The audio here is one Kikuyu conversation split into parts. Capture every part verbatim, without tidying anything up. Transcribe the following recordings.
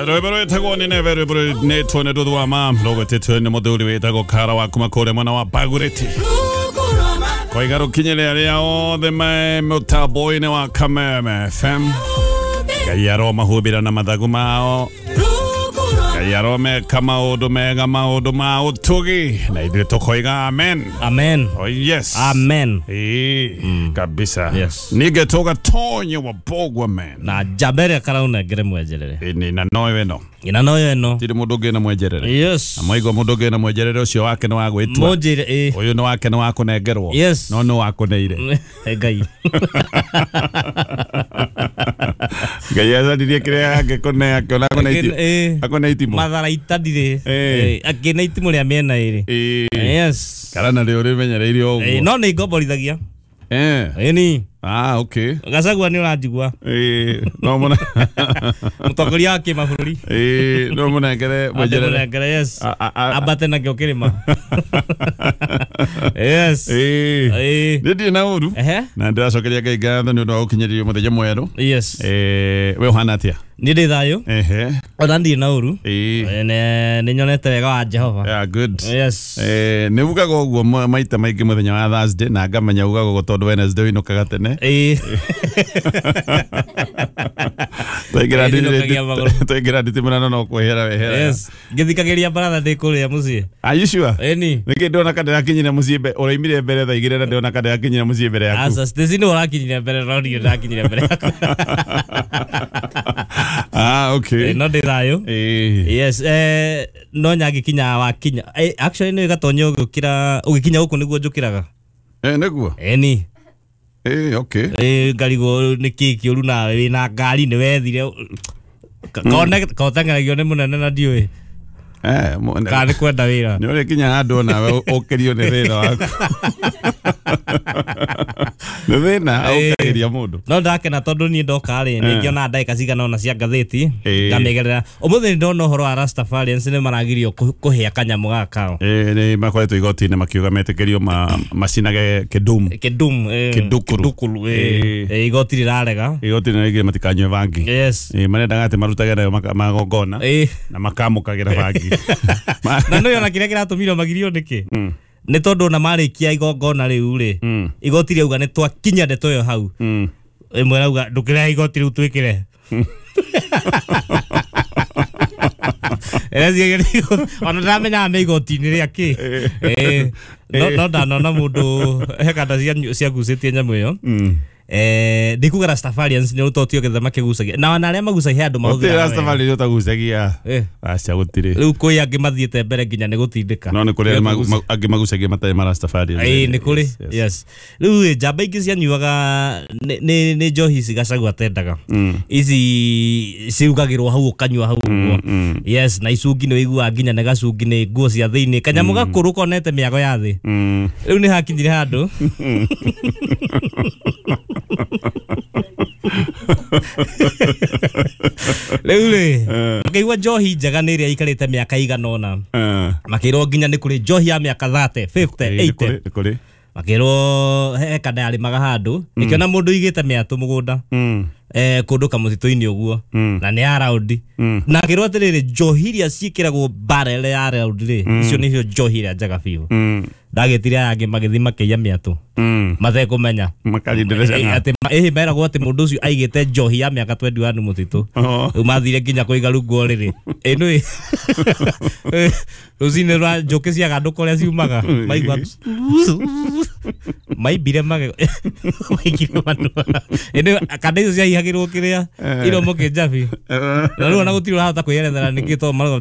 Rwĩmbo rwĩtagwo nĩ neve rwĩmbo rwĩnĩtwo nĩ nduthu wa ma rũgwĩtĩtwo nĩ mũthuri wĩtagwo Kara wa kuma kũrĩa mwena wa Bagurĩti koiga rũkinyĩre arĩa othe me mũtambo-inĩ wa Kameme F M. Ngai aromahumbĩra na mathagu mao, Ngai aromeka maũndũ mega maũndũ ma ũtugi, na ithuĩ tũkoiga amen. Amen. Oh yes. Amen. Ĩĩ, mm. Kabisa. Yes. Nige toga tonye wa bogwa man. Na jambere karauna ngere mwejerere. Ĩni na noyo ĩno. Ina noyo ĩno. Tiri mũndũ ũngĩ na mwejerere. Yes. Na mwaigua mũndũ ũngĩ na mwejerere ũcio wake nĩ wa gwĩtua. Mũnjĩre ĩ. Ũyũ nĩ wake nĩ wa kũnengerwo. Yes. No nĩ wa kũneire. Ngai. Ngai acaririe kĩrĩa angĩkũne akĩona akũne itimũ. Akũne itimũ. Matharaita ndirĩ. Akĩne itimũ rĩa mĩena ĩrĩ. Yes. Kana narĩo rĩmenyereire ũguo. No nĩ ngomborithagia. Eh. Ĩni. Ah, okay. Gacagua nĩ ũranjigua. Eh, no mũna. Mũtongoria wa kĩmabũrũri. Eh, no mũnengere mwejerere. Mũnengere, yes. Ambate nakĩo kĩrĩma. Yes. Eh. Eh. Nĩ ndirĩ na ũru. Na ndĩracokeria Ngai ngatho nĩ ũndũ wa gũkinyĩria mũthenya mwerũ. Yes. Eh, we ũhana atĩa? Nĩ ndĩ thayũ. Ehe. Ona ndirĩ na ũru. Eh. Nĩ nyonete wega wa Jehova. Yeah, good. Yes. Eh, nĩ ugaga ũguo maita maingĩ mũthenya wa Thursday na ngamenya ugaga ũguo tondũ Wednesday ũinũkaga tene. Eh. Twaingĩra nditimũrano no kwehera wehera. Yes. Ngĩthikagĩria baratha ndĩ kũrĩa mũciĩ. Are you sure? Ĩni. Nĩkĩ ndona ka ndĩrakinyire mũciĩ mbere, ũraimire mbere thaa igĩrĩ na ndĩrona ka ndĩrakinyire mũciĩ mbere yaku. Aca, Stacy nĩ ũrakinyire mbere no niĩ ndakinyire mbere yaku. Ah, okay. No ndĩ thayũ. Eh. Yes, eh no nyangĩkinya wakinya. Actually nĩ gatonya ũgĩkĩra ũgĩkinya gũkũ nĩguo njũkĩraga. Eh, nĩguo? Ĩni. Eh, okay. Eh, ngarigwo nĩ kĩ kĩũru nawe wĩna ngari nĩ wethire. Kone koteng'eragio nĩ mũnene na ndiũĩ. Eh, kana nĩ kwenda wĩra. Nĩ ũrĩkinya handũ nawe ũkĩrio nĩ thĩna waku. Nĩ thĩna ũkĩria mũndũ. No ndakena tondũ niĩ ndoka rĩ nĩ ngĩona ndagĩka cigana ũna cia ngathĩti ngamĩgerera. Ũmũthĩ nĩ ndona ũhoro wa Rastafarians nĩ maragirio kũhĩa kanyamũ gaka kao. Eh, nĩ makoretwo igoti-inĩ makiuga metĩkĩrio macinage kĩndum. Kĩndum, kĩndukuru. Eh, igoti rĩrarega. Igoti rĩraigire matikanyue bangi. Yes. Eh, marendaga atĩ marutage nayo magongona na makamũkagĩra bangi. Na nĩ ona kĩrĩa kĩratũmire magirio nĩkĩ? Nĩ tondũ ona marĩkia igongona rĩu rĩ igoti rĩauga nĩ twakinya ndeto ĩyo hau. Ĩmwe rauga ndũkĩrehe igoti rĩu twĩkĩre. Ona ndamenyaga me igoti-inĩ rĩa kĩ. No ndanona mũndũ he kanda ciagucĩtie nyamũ ĩyo. Eh, ndikuga Rastafarians nĩ ũtotio getha makĩgucagia na ona arĩa magucagia andũ mahũthĩraga Rastafari ũtagucagia. Aca gũtirĩ. Rĩu kwĩ angĩ mathiĩte mbere nginya nĩ gũtindĩka. No nĩ kũrĩ angĩ magucagia matarĩ ma Rastafarians. Ĩĩ nĩ kũrĩ. Yes. Rĩu njamba ingĩ cianyuaga nĩ nĩ njohi ici Gachagua atendaga. Ici ciugagĩrwo hau ũkanyua hau ũguo. Yes, na icungi nĩ ũiguaga nginya nĩ gacungi nĩ nguo cia thĩinĩ. Kanyamũ gakũrũ konete mĩago ya thĩ. Rĩu nĩ hakinyire handũ. Rĩu rĩ makĩigua njohi njega nĩ ĩrĩa ĩikarĩte mĩaka igana ũna. Makĩrwo nginya nĩ kũrĩ njohi ya mĩaka thirty, fifty, eighty. Makĩrwo he kanda yarĩmaga handũ ĩkĩona mũndũ ũigĩte mĩatũ mũgũnda eh kũndũ kamũtitũ-inĩ ũguo na nĩ ya raundi na akĩrwo atĩrĩrĩ njohi iria ciĩkĩragwo barrel ya raundi rĩ icio nĩcio njohi iria njega biũ. Ndagĩtire aya angĩ magĩthiĩ makĩiya mĩatũ matekũmenya atĩ ĩhĩ meragwo atĩ mũndũ ũcio aigĩte njohi ya mĩaka twenty one mũtitũ. Rĩu mathire nginya kũiga rungu ũrĩrĩ. Ĩnũ rũcinĩ rwa njũkĩ ciagandũka ũrĩa ciumaga maigua maimbire magego maikire manua. Ĩnũ kanda icio ciahihagĩrwo kĩrĩa iromo kĩnjabi na rĩu ona gũtirĩ ũrahota kwĩyerethera nĩkĩ tondũ marauga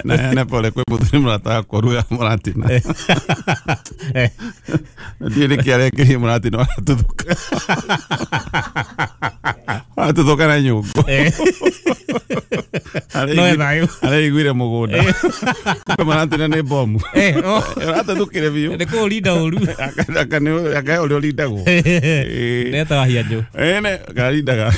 Na heane pole kwĩ mũthuri mũrata wakwa ũrugaga mũratina. Na ndiũĩ nĩkĩ arekĩrire mũratina waratuthũka. Waratuthũka na nyũngũ. Areiguire mũgũnda. Kumbe mũratina nĩ bomu. Ũratuthũkire biũ. Nĩ kũũrinda ũru. Akahe ũrĩa ũrindagwo. Netaga hianjũ. Ĩĩ karindaga.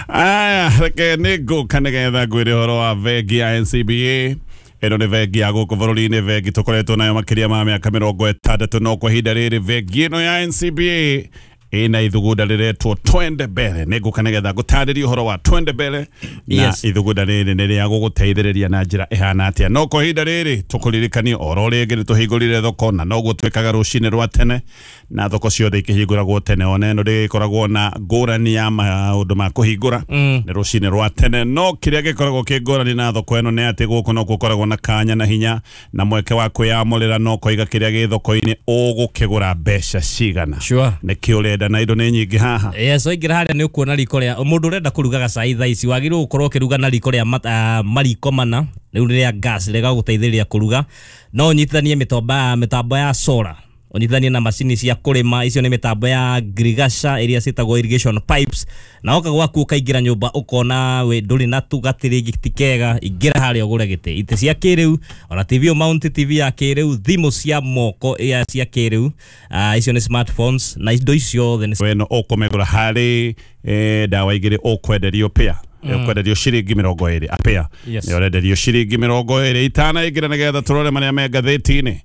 Aya, reke nĩ ngũka nĩgetha ngwĩre ũhoro wa bengi ya N C B A. Ĩno nĩ bengi ya gũkũ bũrũri-inĩ, bengi tũkoretwo nayo makĩria ma mĩaka mĩrongo ĩtandatũ, no kwa ihinda rĩrĩ bengi ĩno ya N C B A Ina ithugunda rĩretwo Twende Mbere. Nĩngũka nĩgetha ngũtarĩrie ũhoro wa Twende Mbere na Yes. ithugunda rĩrĩ nĩ rĩa gũgũteithĩrĩria na njĩra ĩhana atĩa. No kwa ihinda rĩrĩ tũkũririkanie oro rĩngĩ nĩ tũhingũrire thoko na noguo twĩkaga rũcinĩ rwa tene, na thoko ciothe ikĩhingũragwo tene, ona ĩno ndĩgĩkoragwo na ngũrani ya maũndũ ma kũhingũra, nĩ rũcinĩ rwa tene. No kĩrĩa gĩkoragwo kĩ ngũrani na thoko ĩno nĩ atĩ gũkũ no gũkoragwo na kanya na hinya na mweke wa kwĩyamũrĩra, no koiga kĩrĩa gĩ thoko-inĩ ũgũkĩgũra mbeca cigana. Sure. Nĩkĩ ũrenda na indo nĩ nyingĩ haha. Yes, waingĩra harĩa nĩ ũkuona riko rĩa mũndũ ũrenda kũruga gacai thaa ici, wagĩrĩirwo gũkorwo ũkĩruga na riko rĩa mat- ah, mariko mana rĩu rĩa gas rĩgagũteithĩrĩria kũruga. No ũnyitithanie mĩtomba mĩtambo ya solar, ũnyitithanie na macini cia kũrĩma, icio nĩ mĩtambo ya ngirigaca iria ciĩtagwo irrigation pipes, na woka gwaku ũkaingĩra nyũmba ũkona we ndũrĩ na tu gatĩrĩ ti kega, ingĩra harĩa ũgũre gĩtĩ, itĩ cia kĩrĩu, ona T V mount, T V ya kĩrĩu, thimũ cia moko ya cia kĩrĩu, ah, icio nĩ smartphones, na indo icio ciothe nĩ weno ũkũmĩgũra harĩ eh, ndawa igĩrĩ ũkwenderio pĩa ũkwenderio ciringi mĩrongo ĩrĩ apĩa. Yes. Nĩ ũrenderio ciringi mĩrongo ĩrĩ. Itanaingĩra nĩgetha tũrore marĩa me ngathĩti-inĩ.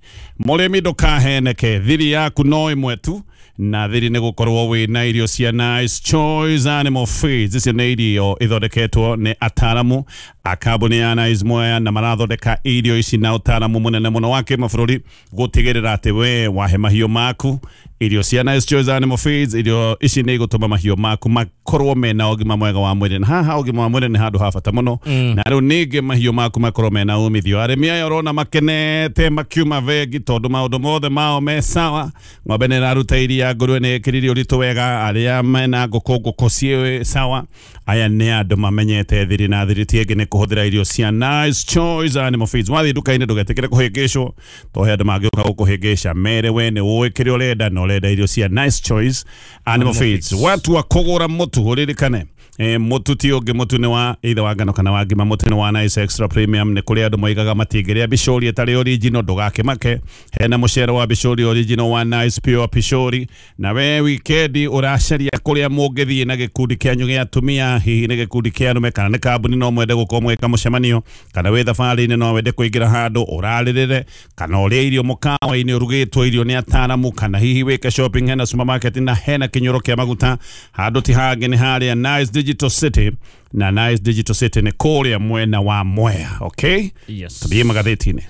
Mũrĩmi ndũkaheneke, thiri yaku no ĩmwe tu, na thiri nĩ gũkorwo wĩna irio cia Nice Choice Animal Feeds. Icio nĩ irio ithondeketwo nĩ ataaramu a kambuni ya Nice Mwea, na marathondeka irio ici na ũtaaramu mũnene mũno wa kĩmabũrũri gũtigĩrĩra atĩ we wahe mahiũ maku irio cia Nice Choice Animal Feeds, irio ici nĩ igũtũma mahiũ maku makorwo mena ũgima mwega wa mwĩrĩ, na haha ũgima wa mwĩrĩ nĩ handũ ha bata mũno, na rĩu ningĩ mahiũ maku makorwo mena umithio. Arĩmi aya ũrona makenete makiuma bengi tondũ maũndũ mothe mao me sawa, ng'ombe nĩ ĩraruta iria, ngũrwe nĩ ĩkĩrire ũritũ wega, arĩa mena ngũkũ ngũkũ ciĩ sawa. Aya nĩ andũ mamenyete thiri, na thiri ti ĩngĩ nĩ kũhũthĩra irio cia Nice Choice Animal Feeds. Wathiĩ nduka-inĩ ndũgetĩkĩre kũhĩngĩcwo, tondũ he andũ mangĩũka gũkũhĩngĩca mere we nĩ ũĩ kĩrĩa ũrenda na ũrenda irio cia Nice Choice Animal Feeds. Watua kũgũra mũtu ũririkane eh, mũtu ti ũngĩ, mũtu nĩ wa either wa ngano kana wa ngima, mũtu nĩ wa Nice Extra Premium. Nĩ kũrĩ andũ moigaga matingĩrĩa bicũri ĩtarĩ original, ndũgakĩmake, hena mũcere wa bicũri original wa Nice Pure Pishori. Na we wikendi ũracaria kũrĩa mũngĩthiĩ na gĩkundi kĩanyu gĩa atumia, hihi nĩ gĩkundi kĩa arũme kana nĩ kambuni, no mwende gũkorwo mwĩka mũcemanio, kana wĩ thabarĩ-inĩ no wende kũingĩra handũ ũrarĩrĩre, kana ũrĩe irio mũkawa-inĩ ũrugĩtwo irio nĩ ataaramu, kana hihi wĩke shopping, hena supermarket na hena kĩnyũro kĩa maguta. Handũ ti hangĩ nĩ harĩa Nice Digital City, na Nice Digital City nĩ kũrĩa mwena wa Mwea. Okay, Yes. tũthiĩ magathĩti-inĩ.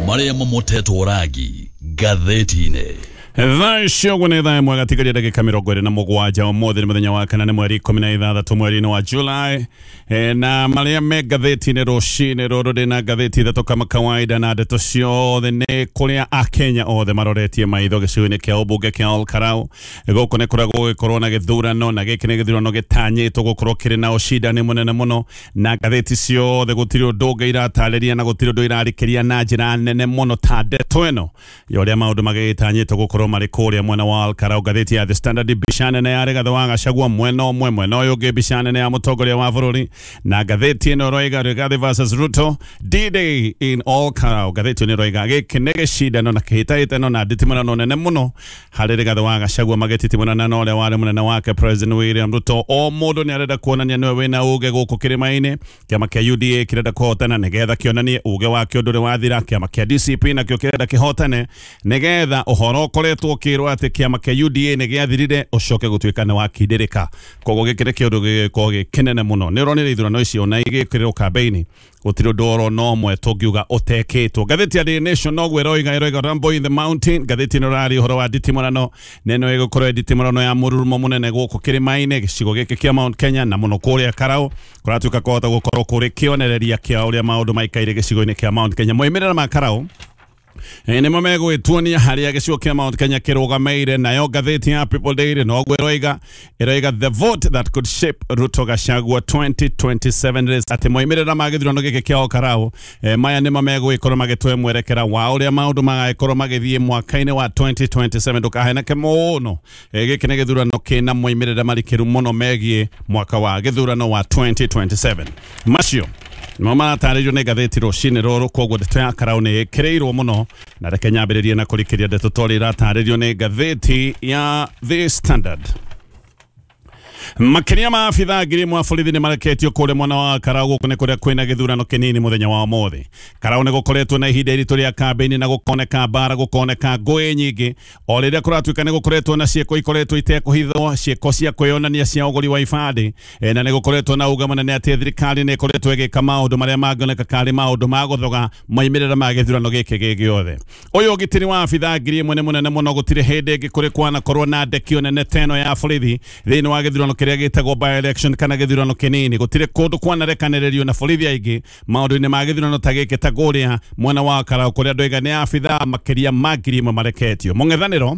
Marĩa mamotetwo rangi ngathĩti-inĩ. Thaa icio ũguo nĩ thaa ĩmwe gatigaria ndagĩka mĩrongo ĩrĩ na mũgwanja. Ũmũthĩ nĩ mũthenya wa kana, nĩ mweri ikũmi na ithathatũ mweri-inĩ wa July. Eh, na marĩa me ngathĩti-inĩ rũcinĩ rũrũ, ndĩna ngathĩti ithatũ kama kawaida, na ndeto ciothe nĩ kũrĩa akenya othe maroretie maitho gĩcigo-inĩ kĩa ũmbunge kĩa Ol Kalou. Gũkũ nĩ kũrĩa gũgĩkorwo na gĩthurano, na gĩkĩ nĩ gĩthurano gĩtanyĩtwo gũkorwo kĩrĩ na ũcindani mũnene mũno, na ngathĩti ciothe gũtirĩ ũndũ ũngĩ iratarĩria na gũtirĩ ũndũ irarĩkĩria na njĩra nene mũno ta ndeto ĩno ya ũrĩa maũndũ magĩtanyĩtwo gũkorwo marĩ kũrĩa mwena wa Ol Kalou. Ngathĩti ya The Standard, mbica nene ya Rigathĩ wa Gachagua mwena ũmwe, mwena ũyũ ũngĩ mbica nene ya mũtongoria wa bũrũri, na ngathĩti ĩno ĩroiga Rigathĩ versus Ruto, D-Day in Ol Kalou. Ngathĩti ĩno ĩroiga gĩkĩ nĩ gĩcindano na kĩhĩtahĩtano na nditimũrano nene mũno harĩ Rigathĩ wa Gachagua magĩtitimũrana na ũrĩa warĩ mũnene wake President William Ruto. O mũndũ nĩ arenda kuonania nĩwe wĩna uge gũkũ kĩrĩma-inĩ. Kĩama kĩa U D A kĩrenda kũhotana nĩgetha kĩonanie uge wakĩo ndũrĩ wathira. Kĩama kĩa D C P nakĩo kĩrenda kĩhotane nĩgetha ũhoro ũkoretwo ũkĩrwo atĩ kĩama kĩa U D A nĩ gĩathirire ũcoke gũtuĩka nĩ wakindĩrĩka. Koguo gĩkĩ nĩ kĩũndũ gĩgĩkorwo gĩ kĩnene mũno. Nĩ ũronire ithurano icio na igĩkĩrĩrwo kambĩini, gũtirĩ ũndũ oro na ũmwe tũngiuga ũtekĩtwo. Ngathĩti ya Daily Nation noguo ĩroiga, ĩroiga Rumble in the Mountain. Ngathĩti ĩno ĩraria ũhoro wa nditimũrano, na ĩno ĩgũkorwo ĩ nditimũrano ya mũrurumo mũnene gũkũ kĩrĩma-inĩ gĩcigo gĩkĩ kĩa Mount Kenya na mũno kũrĩa Karau, kũratuĩka kũhota gũkorwo kũrĩ kĩonereria kĩa ũrĩa maũndũ maikaire gĩcigo-inĩ kĩa Mount Kenya. Moimĩrĩra ma Karau nĩmo megũgĩtuonia harĩa gĩcigo kĩa Mount Kenya kĩrũgamĩire. Nayo ngathĩti ya People Daily noguo ĩroiga, ĩroiga the vote that could shape Ruto Gachagua twenty twenty-seven race, atĩ moimĩrĩra ma gĩthurano gĩkĩ kĩa Ol Kalou eh, maya nĩmo megũgĩkorwo magĩtũhe mwerekera wa ũrĩa maũndũ magagĩkorwo magĩthiĩ mwaka-inĩ wa twenty twenty-seven. Ndũkaheneke mũno, eh, gĩkĩ nĩ gĩthurano kĩna moimĩrĩra marikĩru mũno megiĩ mwaka wa gĩthurano wa twenty twenty-seven. Macio nĩmo maratarĩrio nĩ ngathĩti rũcinĩ rũrũ, koguo ndeto ya Karau nĩ ĩkĩrĩirwo mũno, na reke nyambĩrĩrie na kũrikĩria ndeto ta ũrĩa iratarĩrio nĩ ngathĩti ya The Standard. Makiria ma abithaa ngiri ĩmwe a borithi nĩ mareketio kũrĩa mwena wa Karau gũkũ nĩ kũrĩa kwĩna gĩthurano kĩnini mũthenya wa ũmũthĩ. Karau nĩ gũkoretwo na ihinda iritũ rĩa kambĩini na gũkoneka mbara, gũkoneka ngũĩ nyingĩ o rĩrĩa kũratuĩka nĩ gũkoretwo na ciĩko ikoretwo itekũhithwo, ciĩko cia kwĩyonania cia ũgũri wa ibandĩ, e, na nĩ gũkoretwo na uga mũnene atĩ thirikari nĩ ĩkoretwo ĩgĩka maũndũ marĩa mangĩoneka karĩ maũndũ ma gũthoga moimĩrĩra ma gĩthurano gĩkĩ gĩ gĩothe. Ũyũ ũgitĩri wa abithaa ngiri ĩmwe nĩ mũnene mũno, gũtirĩ hĩndĩ ĩngĩ kũrĩ kwanakorwo na ndekio nene ta ĩno ya borithi thĩinĩ wa gĩthurano kĩrĩa gĩtagwo by election kana gĩthurano kĩnini. Gũtirĩ kũndũ kwanarekanĩrĩrio na borithi aingĩ maũndũ-inĩ ma gĩthurano ta gĩkĩ ta kũrĩa mwena wa Karau kũrĩa andũ aiga nĩ abithaa makĩria ma ngiri ĩmwe mareketio. Mũng'ethanĩro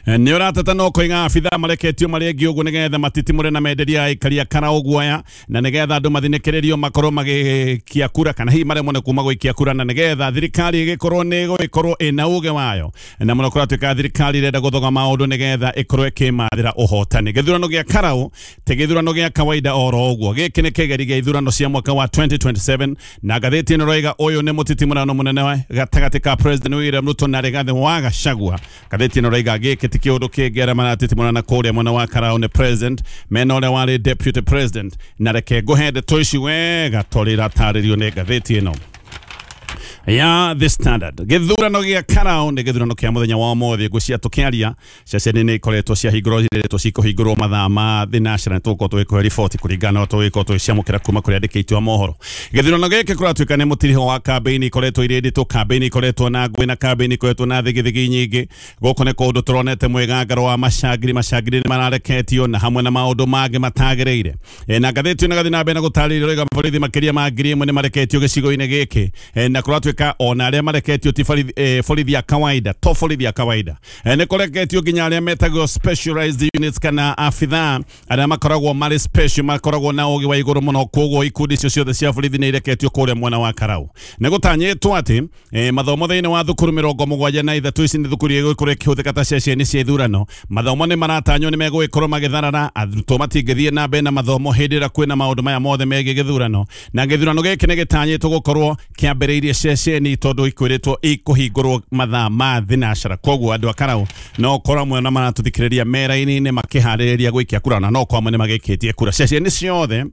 nĩ ũrateta no koiga abithaa mareketio marĩ aingĩ ũguo nĩgetha matitimũre na menderia aikaria Karau guoya, na nĩgetha andũ mathinĩkĩrĩrio makorwo magĩikia kura kana hihi maremwo nĩ kuma gũikia kura, na nĩgetha thirikari ĩgĩkorwo nĩ ĩgũgĩkorwo ĩna uge wayo, na mũno kũratuĩka thirikari ĩrenda gũthoga maũndũ nĩgetha ĩkorwo ĩkĩmathĩra ũhotani. Gĩthurano gĩa Karau ti gĩthurano gĩa kawaida oro ũguo, gĩkĩ nĩ kĩgeri gĩa ithurano cia mwaka wa twenty twenty-seven, na ngathĩti ĩno ĩroiga ũyũ nĩ mũtitimũrano mũnene gatagatĩ ka President William Ruto na Rigathi wa Gachagua. Ngathĩti ĩno ĩroiga gĩkĩ ti kĩũndũ kĩngĩ arĩa maratitimũrana kũrĩa mwena wa Karau nĩ president mena ũrĩa warĩ deputy president, na reke ngũhe ndeto ici wega torĩa iratarĩrio nĩ ngathĩti ĩno ya The Standard. Gĩthurano gĩa Karau nĩ gĩthurano kĩa mũthenya wa ũmũthĩ. Ngwĩciria tũkĩaria ceceni nĩ ikoretwo ciahingũrwo, ciretwo cikũhingũrwo mathaa ma thinacara, tũgũkorwo tũgĩkũhe riboti kũringana na tũgĩkorwo tũgĩciamũkĩra kuma kũrĩ andĩki aitũ a mohoro. Gĩthurano gĩkĩ kũratuĩka nĩ mũtiriho wa kambĩini ikoretwo irĩ nditũ, kambĩini ikoretwo na ngũĩ na kambĩini ikoretwo na thigithigi nyingĩ. Gũkũ nĩ kũndũ tũronete mwĩgangaro wa macangiri, macangiri nĩ marareketio na hamwe na maũndũ mangĩ matagĩrĩire. E, na ngathĩti ĩno ĩgathiĩ na mbere na gũtarĩria ĩroiga borithi makĩria ma ngiri ĩmwe nĩ mareketio gĩcigo-inĩ gĩkĩ, e, na kũratuĩka ona arĩa mareketio ti borithi ya kawaida, to borithi ya kawaida, e, nĩ kũreketio nginya arĩa metagwo specialized units kana abithaa arĩa makoragwo marĩ special, makoragwo na ũgĩ wa igũrũ mũno. Koguo ikundi icio ciothe cia borithi nĩ ireketio kũrĩa mwena wa Karau. Nĩ gũtanyĩtwo atĩ e, mathomo thĩinĩ wa thukuru mĩrongo mũgwanja na ithatũ, ici nĩ thukuru igũkorwo ikĩhũthĩka ta ceceni cia ithurano. Mathomo nĩ maratanywo nĩ megũgĩkorwo magĩtharara, arutwo matingĩthiĩ na mbere na mathomo hĩndĩ ĩrĩa kwĩna maũndũ maya mothe megiĩ gĩthurano, na gĩthurano gĩkĩ nĩ gĩtanyĩtwo gũkorwo kĩambĩrĩirie ceceni tondũ ikwĩrĩtwo ikũhingũrwo mathaa ma thinacara. Koguo andũ a Karau no korwo amwe na maratũthikĩrĩria mera-inĩ makĩharĩrĩria gũikia kura, na no korwo amwe nĩ magĩikĩtie kura. Ceceni ciothe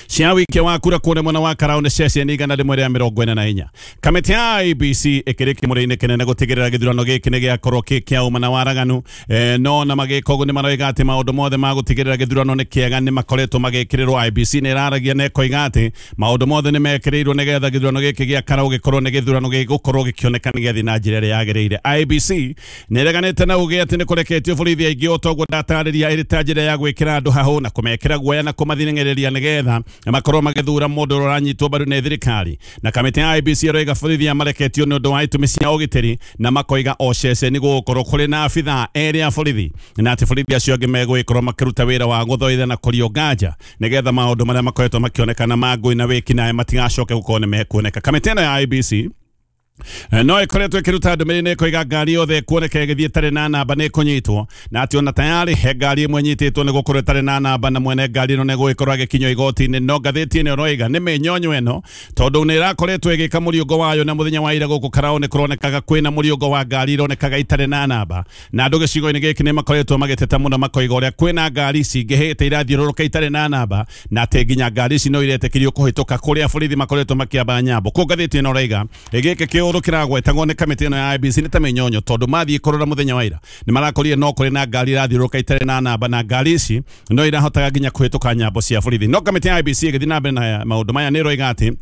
cia wikia wa kura kũrĩa mwena wa Karau nĩ ceceni igana rĩmwe rĩa mĩrongo ĩna na inya. Kamĩtĩ ya I B C ĩkĩrĩ kĩmũrĩ-inĩ kĩnene gũtigĩrĩra gĩthurano gĩkĩ nĩ gĩakorwo kĩ kĩa ũma na waraganu, e, no na magĩka ũguo nĩ maroiga atĩ maũndũ mothe ma gũtigĩrĩra gĩthurano nĩ kĩega nĩ makoretwo magĩkĩrĩrwo. I B C nĩ ĩraragia na ĩkoiga atĩ maũndũ mothe nĩ mekĩrĩirwo nĩgetha gĩthurano gĩkĩ gĩa Karau gĩkorwo nĩ gĩthurano gĩgũkorwo gĩkĩoneka nĩ gĩathiĩ na njĩra ĩrĩa yagĩrĩire. I B C nĩ ĩreganĩte na uge atĩ nĩ kũreketio borithi aingĩ o ta ũguo ndatarĩria, ĩrĩ ta njĩra ya gwĩkĩra andũ hahũ na kũmekĩra guoya na kũmathinĩrĩria nĩgetha makorwo magĩthura mũndũ ũrĩa ũranyitwo mbaru nĩ thirikari. Na kamĩtĩ ya I B C ĩroiga borithi aya mareketio nĩ ũndũ wa itũmi cia ũgitĩri, na makoiga o ceceni gũgũkorwo kũrĩ na abithaa erĩ a borithi, na atĩ borithi acio angĩ megũgĩkorwo makĩruta wĩra wa gũthoitha na kũrio nganja nĩgetha maũndũ marĩa makoretwo makĩonekana ma ngũĩ na wĩkinaĩ matigacoke gũkorwo nĩ mekuoneka. Kamĩtĩ ĩno ya I B C no ĩkoretwo ĩkĩruta ndũmĩrĩri nĩ ĩkoiga ngari yothe ĩkuoneka ĩgĩthiĩ ĩtarĩ na namba nĩ ĩkũnyitwo, na atĩ ona tayarĩ he ngari ĩmwe ĩnyitĩtwo nĩ gũkorwo ĩtarĩ na namba na mwene ngari ĩno nĩ gũgĩkorwo agĩkinyio igoti-inĩ. No ngathĩti ĩno ĩroiga nĩ mĩnyonyo ĩno tondũ nĩ ĩrakoretwo ĩgĩka mũriũngo wayo, na mũthenya wa ira gũkũ Karau nĩ kũronekaga kwĩna mũriũngo wa ngari ironekaga itarĩ na namba, na andũ gĩcigo-inĩ gĩkĩ nĩ makoretwo magĩteta mũno makoiga ũrĩa kwĩna ngari cingĩhĩte irathiũrũrũka itarĩ na namba, na atĩ nginya ngari ici no iretĩkĩrio kũhĩtũka kũrĩa borithi makoretwo makĩamba nyambo. Kũu ngathĩti ĩno ĩroiga gĩkĩ kĩũndũ kĩragwetagwo nĩ kamĩtĩ ĩno ya I B C nĩ ta mĩnyonyo tondũ mathiĩ kũrora mũthenya wa ira nĩ marakorire no kũrĩ na ngari irathiũrũrũka itarĩ na namba, na ngari ici no irahotaga nginya kũhĩtũka nyambo cia borithi. No kamĩtĩ ya I B C ĩgĩthiĩ na mbere na maũndũ maya nĩ ĩroiga atĩ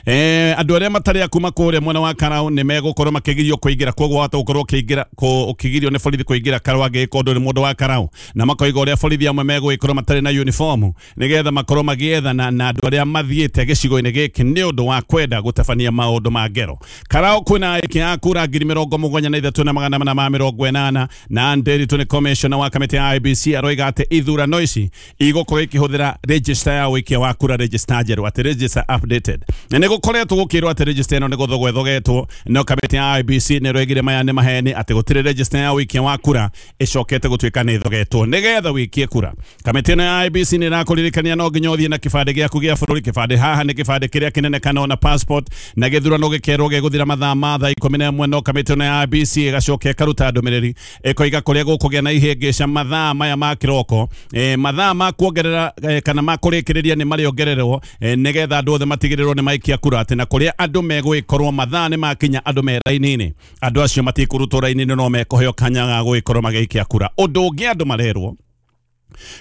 eh andũ arĩa matarĩ a kuma kũrĩa mwena wa Karau nĩ megũkorwo makĩgirio kũingĩra, koguo wahota gũkorwo ũkĩingĩra ũkĩgirio nĩ borithi kũingĩra Karau angĩgĩka ũndũ nĩ mũndũ wa Karau, na makoiga ũrĩa borithi amwe megũgĩkorwo matarĩ na uniform nĩgetha makorwo magĩethana na andũ arĩa mathiĩte gĩcigo-inĩ gĩkĩ nĩ ũndũ wa kwenda gũtabania maũndũ ma ngero. Karau kwĩna aikia a kura ngiri mĩrongo mũgwanja na ithatũ na magana mana ma mĩrongo ĩnana, na Nderitu nĩ commissioner wa kamĩtĩ ya I B C aroiga atĩ ithurano ici igũkorwo ikĩhũthĩra register ya ũikia wa kura, register njerũ, atĩ register updated. Nĩ gũkoretwo gũkĩrwo atĩ register ĩno nĩ gũthogwo ĩthogetwo, no kamĩtĩ ya I E B C nĩ ĩroigire maya nĩ maheni atĩ gũtirĩ register ya ũikia wa kura ĩcokete gũtuĩka nĩ ĩthogetwo nĩgetha wĩikie kura. Kamĩtĩ ĩno ya I E B C nĩ ĩrakũririkania no nginya ũthiĩ na kĩbandĩ gĩaku gĩa bũrũri. Kĩbandĩ haha nĩ kĩbandĩ kĩrĩa kĩnene kana ona passport, na gĩthurano gĩkerwo gĩgũthira mathaa ma thaa ikũmi na ĩmwe, no kamĩtĩ ĩno ya I E B C ĩgacoka ĩkaruta ndũmĩrĩri ĩkoiga kũrĩa gũkũgĩa na ihĩngĩca mathaa maya ma kĩroko, e, mathaa ma kuongerera e, kana ma kũrĩkĩrĩria nĩ marĩongererwo e, nĩgetha andũ othe matigĩrĩrwo nĩ maikia kura, atĩ na kũrĩa andũ megũgĩkorwo mathaa nĩ makinya andũ me raini-inĩ, andũ acio matikũrutwo raini-inĩ no mekũheo kanya ga gũgĩkorwo magĩikia kura. Ũndũ ũngĩ andũ marerwo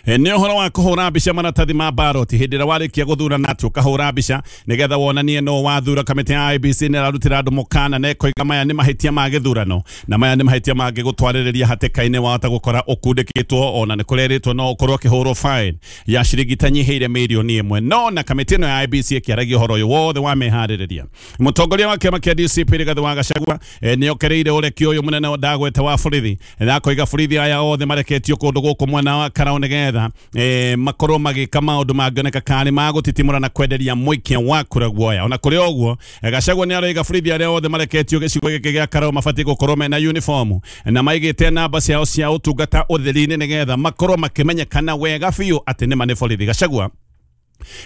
nĩ ũhoro wa kũhũra mbica maratathi ma ballot hĩndĩ ĩrĩa warĩkia gũthurana, atĩ ũkahũra mbica nĩgetha wonanie no wathura. Kamĩtĩ ya I E B C nĩ ĩrarutĩra andũ mũkana na ĩkoiga maya nĩ mahĩtia ma gĩthurano na maya nĩ mahĩtia mangĩgũtwarĩrĩria hatĩka-inĩ wahota gũkora ũkundĩkĩtwo, ona nĩ kũrerĩtwo no ũkorwo ũkĩhũrwo fine ya ciringi itanyihĩire mirioni ĩmwe. No na kamĩtĩ ĩno ya I E B C ĩkĩaragia ũhoro ũyũ wothe wa meharĩrĩria, mũtongoria wa kĩama kĩa D C P Rigathĩ wa Gachagua nĩ okereire ũreki ũyũ mũnene ndagwete wa borithi na akoiga borithi aya othe mareketio kũndũ gũkũ mwena wa Karau nĩgetha eh, makorwo magĩka maũndũ mangĩoneka karĩ ma gũtitimũra na kwenderia mũikia wa kura guoya. Ona kũrĩ ũguo, Gachagua nĩ aroiga borithi arĩa othe mareketio gĩcigo gĩkĩ gĩa Karau mabatiĩ gũkorwo mena uniform na maigĩte namba ciao cia ũtungata ũtheri-inĩ nĩgetha makorwo makĩmenyekana wega biũ atĩ nĩma nĩ borithi. Gachagua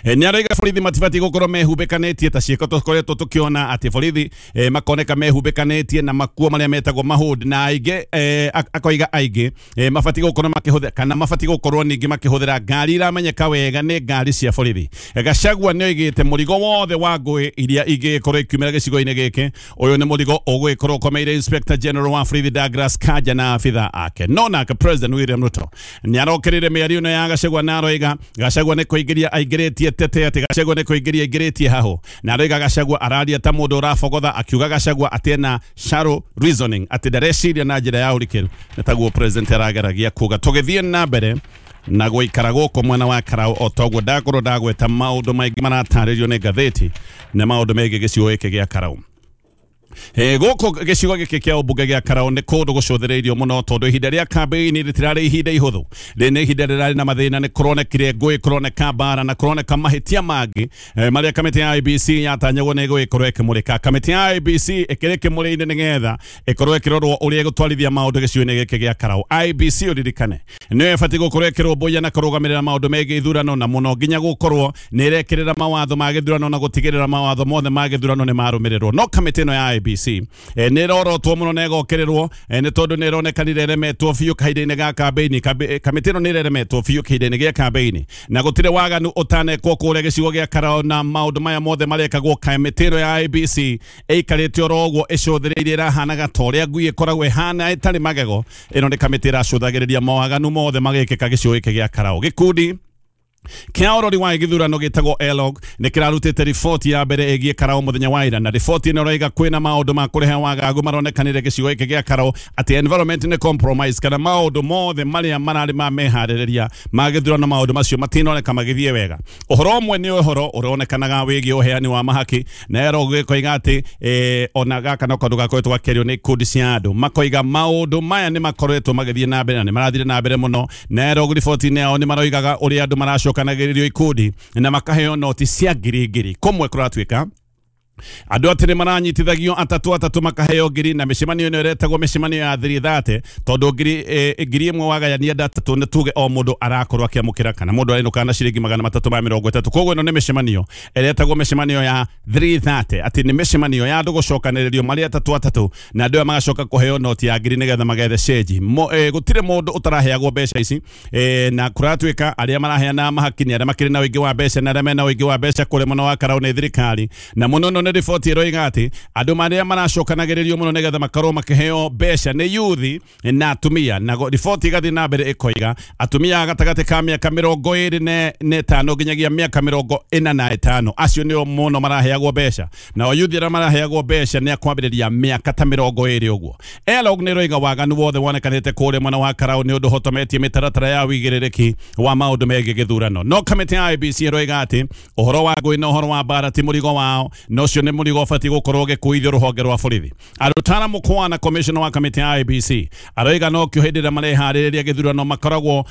nĩ aroiga borithi matibatiĩ gũkorwo mehumbĩkanĩtie ta ciĩko tũkoretwo tũkĩona atĩ borithi eh, makoneka mehumbĩkanĩtie na makuo marĩa metagwo mahũd, na aingĩ eh, akoiga aingĩ eh, mabatiĩ gũkorwo makĩhũthĩra kana mabatiĩ gũkorwo ningĩ makĩhũthĩra ngari iramenyeka wega nĩ ngari cia borithi. Gachagua nĩ oigĩte mũrigo wothe wa ngũĩ iria ingĩkorwo ikiumĩra gĩcigo-inĩ gĩkĩ, ũyũ nĩ mũrigo ũgũgĩkorwo ũkomeire Inspector General wa borithi Douglas Kanja na abitha ake. No nake President William Ruto nĩ arokerire mĩario ĩno ya Gachagua na aroiga Gachagua nĩ kũingĩria aingĩrĩtie tete atĩ Gachagua nĩ kũingĩria aingĩrĩtie haho, na aroiga Gachagua araria ta mũndũ ũrabogotha, akiuga Gachagua atĩ ena shallow reasoning, atĩ ndareciria na njĩra ya ũrikĩru. Nĩ taguo president arageragia kuga. Tũgĩthiĩ na mbere na gũikara gũkũ mwena wa Karau o toguo ndakorwo ndagweta maũndũ maingĩ maratarĩrio nĩ ngathĩti na maũndũ megiĩ gĩcigo gĩkĩ gĩa Karau. Eh, gũkũ gĩcigo gĩkĩ kĩa ũmbunge gĩa Karau nĩ kũndũ gũcũthĩrĩirio mũno tondũ ihinda rĩa kambĩini rĩtirarĩ ihinda ihũthũ, rĩ nĩ ihinda rĩrarĩ na mathĩna, nĩ kũronekire ngũĩ, kũroneka mbara na kũroneka mahĩtia mangĩ eh, marĩa kamĩtĩ ya I E B C yatanyagwo nĩ ĩgũgĩkorwo ĩkĩmũrĩka. Kamĩtĩ ya I E B C ĩkĩrĩ kĩmũrĩ-inĩ nĩgetha ĩkorwo ĩkĩrorwo ũrĩa ĩgũtwarithia maũndũ gĩcigo-inĩ gĩkĩ gĩa Karau. I E B C ũririkane nĩyo ĩbatiĩ gũkorwo ĩkĩrũmbũiya na kũrũgamĩrĩra maũndũ megiĩ ithurano, na mũno nginya gũkorwo nĩ ĩrekĩrĩra mawatho ma gĩthurano na gũtigĩrĩra mawatho mothe ma gĩthurano nĩ marũmĩrĩrwo. No kamĩtĩ ĩno ya I E B C eh, nĩ ĩrorotwo mũno na ĩgokererwo eh, nĩ tondũ nĩ ĩronekanire ĩremetwo biũ kahinda-inĩ ga kambĩini. Kamĩtĩ ĩno nĩ ĩremetwo biũ kahinda-inĩ gĩa kambĩini na gũtirĩ waganu ũtanekwo kũrĩa gĩcigo gĩa Karau, na maũndũ maya mothe marekagwo kamĩtĩ ĩno ya I E B C ĩikarĩte oro ũguo ĩcũthĩrĩirie, ĩrahanaga ta ũrĩa ngui ĩkoragwo ĩhana ĩtarĩ magego. Ĩno nĩ kamĩtĩ ĩracũthagĩrĩria mawaganu mothe magĩkĩka gĩcigo gĩkĩ gĩa Karau. Gĩkundi kĩa ũrori wa gĩthurano gĩtagwo ELOG nĩ kĩrarutĩte riboti ya mbere ĩgiĩ Karau mũthenya wa ira, na riboti ĩno ĩroiga kwĩna maũndũ ma kũrehe wagagu maronekanire gĩcigo gĩkĩ gĩa Karau, atĩ environment nĩ compromise, kana maũndũ mothe marĩa mararĩ ma meharĩrĩria ma gĩthurano maũndũ macio matinoneka magĩthiĩ wega. Ũhoro ũmwe nĩ ũhoro ũronekanaga wĩgiĩ ũheani wa mahaki, na ELOG ĩkoiga atĩ eh, ona gaka no kaũndũ gakoretwo gakĩario nĩ ikundi cia andũ, makoiga maũndũ maya nĩ makoretwo magĩthiĩ na mbere na nĩ marathire na mbere mũno, na ELOG riboti-inĩ yao nĩ maroigaga ũrĩa andũ maracoka kanagĩrĩrio ikundi na makaheo noti cia ngiri ngiri. Kũmwe kũratuĩka andũ atĩ nĩ maranyitithagio atatu atatu makaheo ngiri, na mĩcemanio ĩno ĩretagwo mĩcemanio ya thiri thate tondũ ngiri eh, ngiri ĩmwe wagayania ndatatu nĩ tuge o mũndũ arakorwo akĩamũkĩra kana mũndũ arenũka na ciringi magana matatũ ma mĩrongo ĩtatũ. Koguo ĩno nĩ mĩcemanio ĩretagwo mĩcemanio ya thiri thate, atĩ nĩ mĩcemanio ya andũ gũcokanĩrĩrio marĩ atatu atatu na andũ aya magacoka kũheo noti ya ngiri nĩgetha magethe cenji. Eh, gũtirĩ mũndũ ũtaraheagwo mbeca ici eh, na kũratuĩka arĩa maraheana mahaki nĩ arĩa makĩrĩ na ũingĩ wa mbeca na arĩa mena ũingĩ wa mbeca kũrĩa mwena wa Karau nĩ thirikari, na mũno mũno nĩ riboti ĩroiga atĩ andũ marĩa maracokanagĩrĩrio mũno nĩgetha makorwo makĩheo mbeca nĩ yuthi na atumia, na riboti ĩgathiĩ na mbere ĩkoiga atumia gatagatĩ ka mĩaka mĩrongo ĩrĩ na ĩtano nginyagia mĩaka mĩrongo ĩna na ĩtano acio nĩo mũno maraheagwo mbeca, nao yuthi arĩa maraheagwo mbeca nĩ akwambĩrĩria mĩaka ta mĩrongo ĩrĩ ũguo. ELOG nĩ ĩroiga waganu wothe wonekanĩte kũrĩa mwena wa Karau nĩ ũndũ ũhotometie mĩtaratara ya ũigĩrĩrĩki wa maũndũ megiĩ gĩthurano. No kamĩtĩ ya I E B C ĩroiga atĩ ũhoro wa ngũĩ na ũhoro wa mbara ti mũrigo wao, no ũcio nĩ mũrigo ũbatiĩ gũkorwo ũgĩkuithio rũhonge rwa borithi. Arutana Mukwana commissioner wa kamĩtĩ ya I E B C aroiga no kĩo hĩndĩ ĩrĩa mareharĩrĩria gĩthurano makoragwo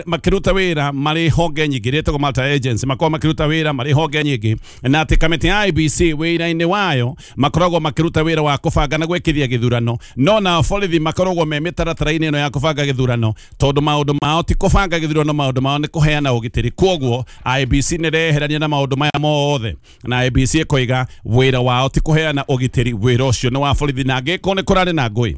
makĩruta wĩra marĩ honge nyingĩ rĩtagwo multi agency, makoragwo makĩruta wĩra marĩ honge nyingĩ, na atĩ kamĩtĩ ya I E B C wĩra-inĩ wayo makoragwo makĩruta wĩra wa kũbanga na gwĩkithia gĩthurano, no na borithi makoragwo me mĩtaratara-inĩ ĩno ya kũbanga gĩthurano tondũ maũndũ mao ti kũbanga gĩthurano, maũndũ mao nĩ kũheana ũgitĩri. Kwoguo I E B C nĩ reherania na maũndũ maya mothe, na I E B C ĩkoiga wĩra wao ti kũheana ũgitĩri, wĩra ũcio nĩ wa borithi, na angĩkorwo nĩ kũrarĩ na ngũĩ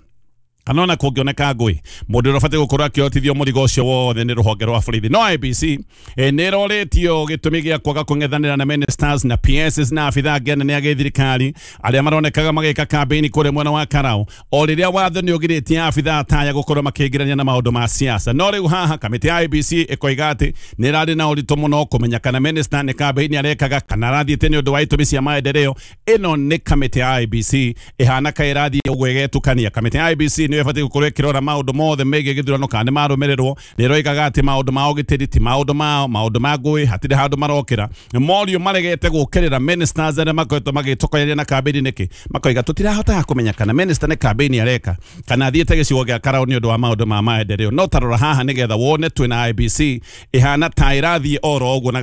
kana ona kũngĩoneka ngũĩ mũndũ ũrĩa ũbatiĩ gũkorwo akĩhotithio mũrigo ũcio wothe nĩ rũhonge rwa borithi. No I E B C nĩ ĩrorĩtio gĩtũmi gĩa kwaga kũng'ethanĩra na ministers na P Ss na abithaa angĩ anene a gĩthirikari arĩa maronekaga magĩka kambĩini kũrĩa mwena wa Karau, o rĩrĩa watho nĩ ũgirĩtie abithaa taya gũkorwo makĩingĩrania na maũndũ ma siasa. No rĩu haha kamĩtĩ ya I E B C ĩkoiga atĩ nĩ ĩrarĩ na ũritũ mũno kũmenya kana minister nĩ kambĩini arekaga kana arathiĩte nĩ ũndũ wa itũmi cia maendeleo. Ĩno nĩ kamĩtĩ ya I E B C ĩhana ka ĩrathiĩ ũguo ĩgetukania. Kamĩtĩ ya I E B C nĩ ĩbatiĩ gũkorwo ĩkĩrora maũndũ mothe megiĩ gĩthurano kana nĩ marũmĩrĩrwo. Nĩ ĩroigaga atĩ maũndũ ma ũgitĩri ti maũndũ mao, maũndũ ma ngũĩ hatirĩ handũ marokĩra. Morio maregete gũkĩrĩra ministers arĩa makoretwo magĩtokoreria na kambĩini nĩkĩ, makoiga tũtirahotaga kũmenya kana minister nĩ kambĩini areka kana athiĩte gĩcigo gĩa Karau nĩ ũndũ wa maũndũ ma maendeleo. No tarora haha nĩgetha wone twĩna I E B C ĩhana ta ĩrathiĩ oro ũguo na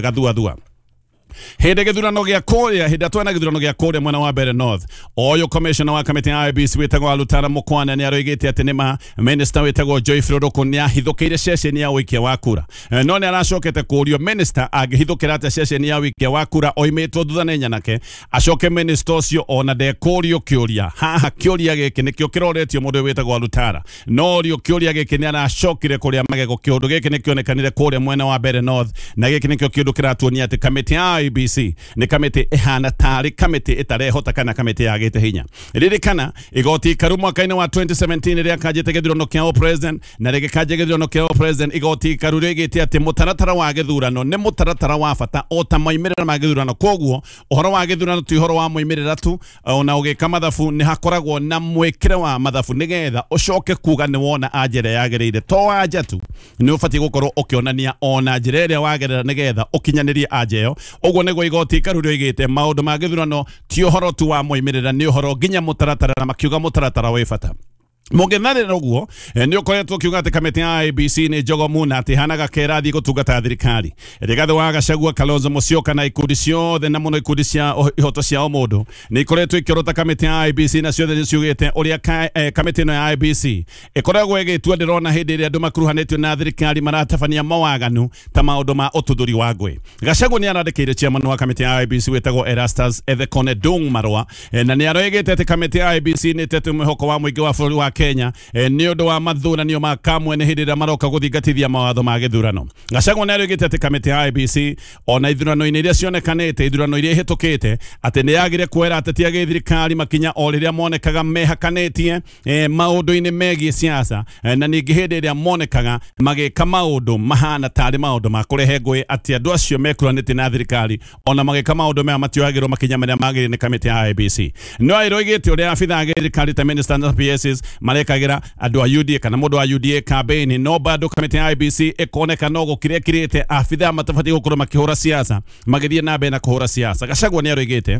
gathuathua. Hĩndĩ gĩthurano gĩa kũrĩa, hĩndĩ twena gĩthurano gĩa kũrĩa mwena wa Mbeere North, ũyũ commissioner wa kamĩtĩ ya I E B C wĩtagwo Alutana Mukwana nĩ aroigĩte atĩ nĩma minister wĩtagwo Joyce Ruruku nĩ ahithũkĩire ceceni ya ũikia wa kura, no nĩ aracokete kũrio minister angĩhithũkĩra atĩa ceceni ya ũikia wa kura oimĩtwo thutha nĩ nyanake, acoke minister ũcio ona ndekũrio kĩũria. Haha kĩũria gĩkĩ nĩkĩo kĩroretio mũndũ wĩtagwo Alutana, no rio kĩũria gĩkĩ nĩ aracokire kũrĩa magego. Kĩũndũ gĩkĩ nĩkĩonekanire kũrĩa mwena wa Mbeere North, na gĩkĩ nĩkĩo kĩũndũ kĩratuonia atĩ kamĩtĩ ya I E B C nĩ kamĩtĩ ĩhana tarĩ kamĩtĩ ĩtarehota kana kamĩtĩ yagĩte hinya. Ririkana igoti ikaru mwaka-inĩ wa twenty seventeen rĩrĩa kanjĩte gĩthurano kĩa president na rĩgĩkanja gĩthurano kĩa president, igoti ikaru rĩgĩte atĩ mũtaratara wa gĩthurano nĩ mũtaratara wa bata o ta moimĩrĩra ma gĩthurano. Kwoguo ũhoro wa gĩthurano ti ũhoro wa moimĩrĩra tu, ona ũgĩka mathabu nĩ hakoragwo na mwĩkĩre wa mathabu nĩgetha ũcoke kuga nĩ wona anja ĩrĩa yagĩrĩire. To anja tu, nĩ ũbatiĩ gũkorwo ũkĩonania ona njĩra ĩrĩa wagerera nĩgetha ũkinyanĩrie anja ĩyo. Ũguo nĩguo igoti ikaru rĩoigĩte maũndũ ma gĩthurano ti ũhoro tu wa moimĩrĩra, nĩ ũhoro nginya mũtaratara, na makiuga mũtaratara wĩ bata. Mũng'ethanĩro ũguo nĩ ũkoretwo ũkiuga atĩ kamĩtĩ ya I E B C nĩ njogomu na atĩ ĩhanaga kerathi gũtungata thirikari. Rigathĩ wa Gachagua, Kalonzo Musyoka na ikundi ciothe na mũno ikundi cia ihoto cia ũmũndũ nĩ ikoretwo ikĩorota kamĩtĩ ya I E B C, na ciothe nĩ ciugĩte ũrĩa kamĩtĩ ĩno ya I E B C ĩkoragwo ĩgĩtua. Ndĩrona hĩndĩ ĩrĩa andũ makuruhanĩtio na thirikari maratabania mawaganu ta maũndũ ma ũtuthũri wa ngũĩ. Gachagua nĩ arandĩkĩire chairman wa kamĩtĩ ya I E B C wĩtagwo Erastus Ethekone Dung marũa, na nĩ aroigĩte atĩ kamĩtĩ ya I E B C nĩ ĩtete mwĩhoko wa mũingĩ wa bũrũri wa Kenya nĩ ũndũ wa mathuranio ma kamwe nĩ hĩndĩ ĩrĩa maroka gũthingatithia mawatho ma gĩthurano. Gachagua nĩ aroigĩte atĩ kamĩtĩ ya I E B C ona ithurano-inĩ iria cionekanĩte, ithurano iria ihĩtũkĩte, atĩ nĩ yagire kuoera ateti a gĩthirikari makinya o rĩrĩa monekaga mehakanĩtie maũndũ-inĩ megiĩ siasa, na ningĩ hĩndĩ ĩrĩa monekaga magĩka maũndũ mahana tarĩ maũndũ ma kũrehe ngũĩ, atĩ andũ acio mekuranĩtie na thirikari ona magĩka maũndũ maya matioyagĩrwo makinya marĩa magĩrĩire nĩ kamĩtĩ ya I E B C. No ĩroigĩte ũrĩa abithaa a gĩthirikari ta minister na P Ss marekagĩra andũ a U D A kana mũndũ wa U D A campaign, no bado kamĩtĩ ya I E B C ĩkoneka no gũkĩrĩa ĩkĩrĩte abithaa matabatiĩ gũkorwo makĩhũra siasa magĩthiĩ na mbere na kũhũra siasa. Gachagua nĩ aroigĩte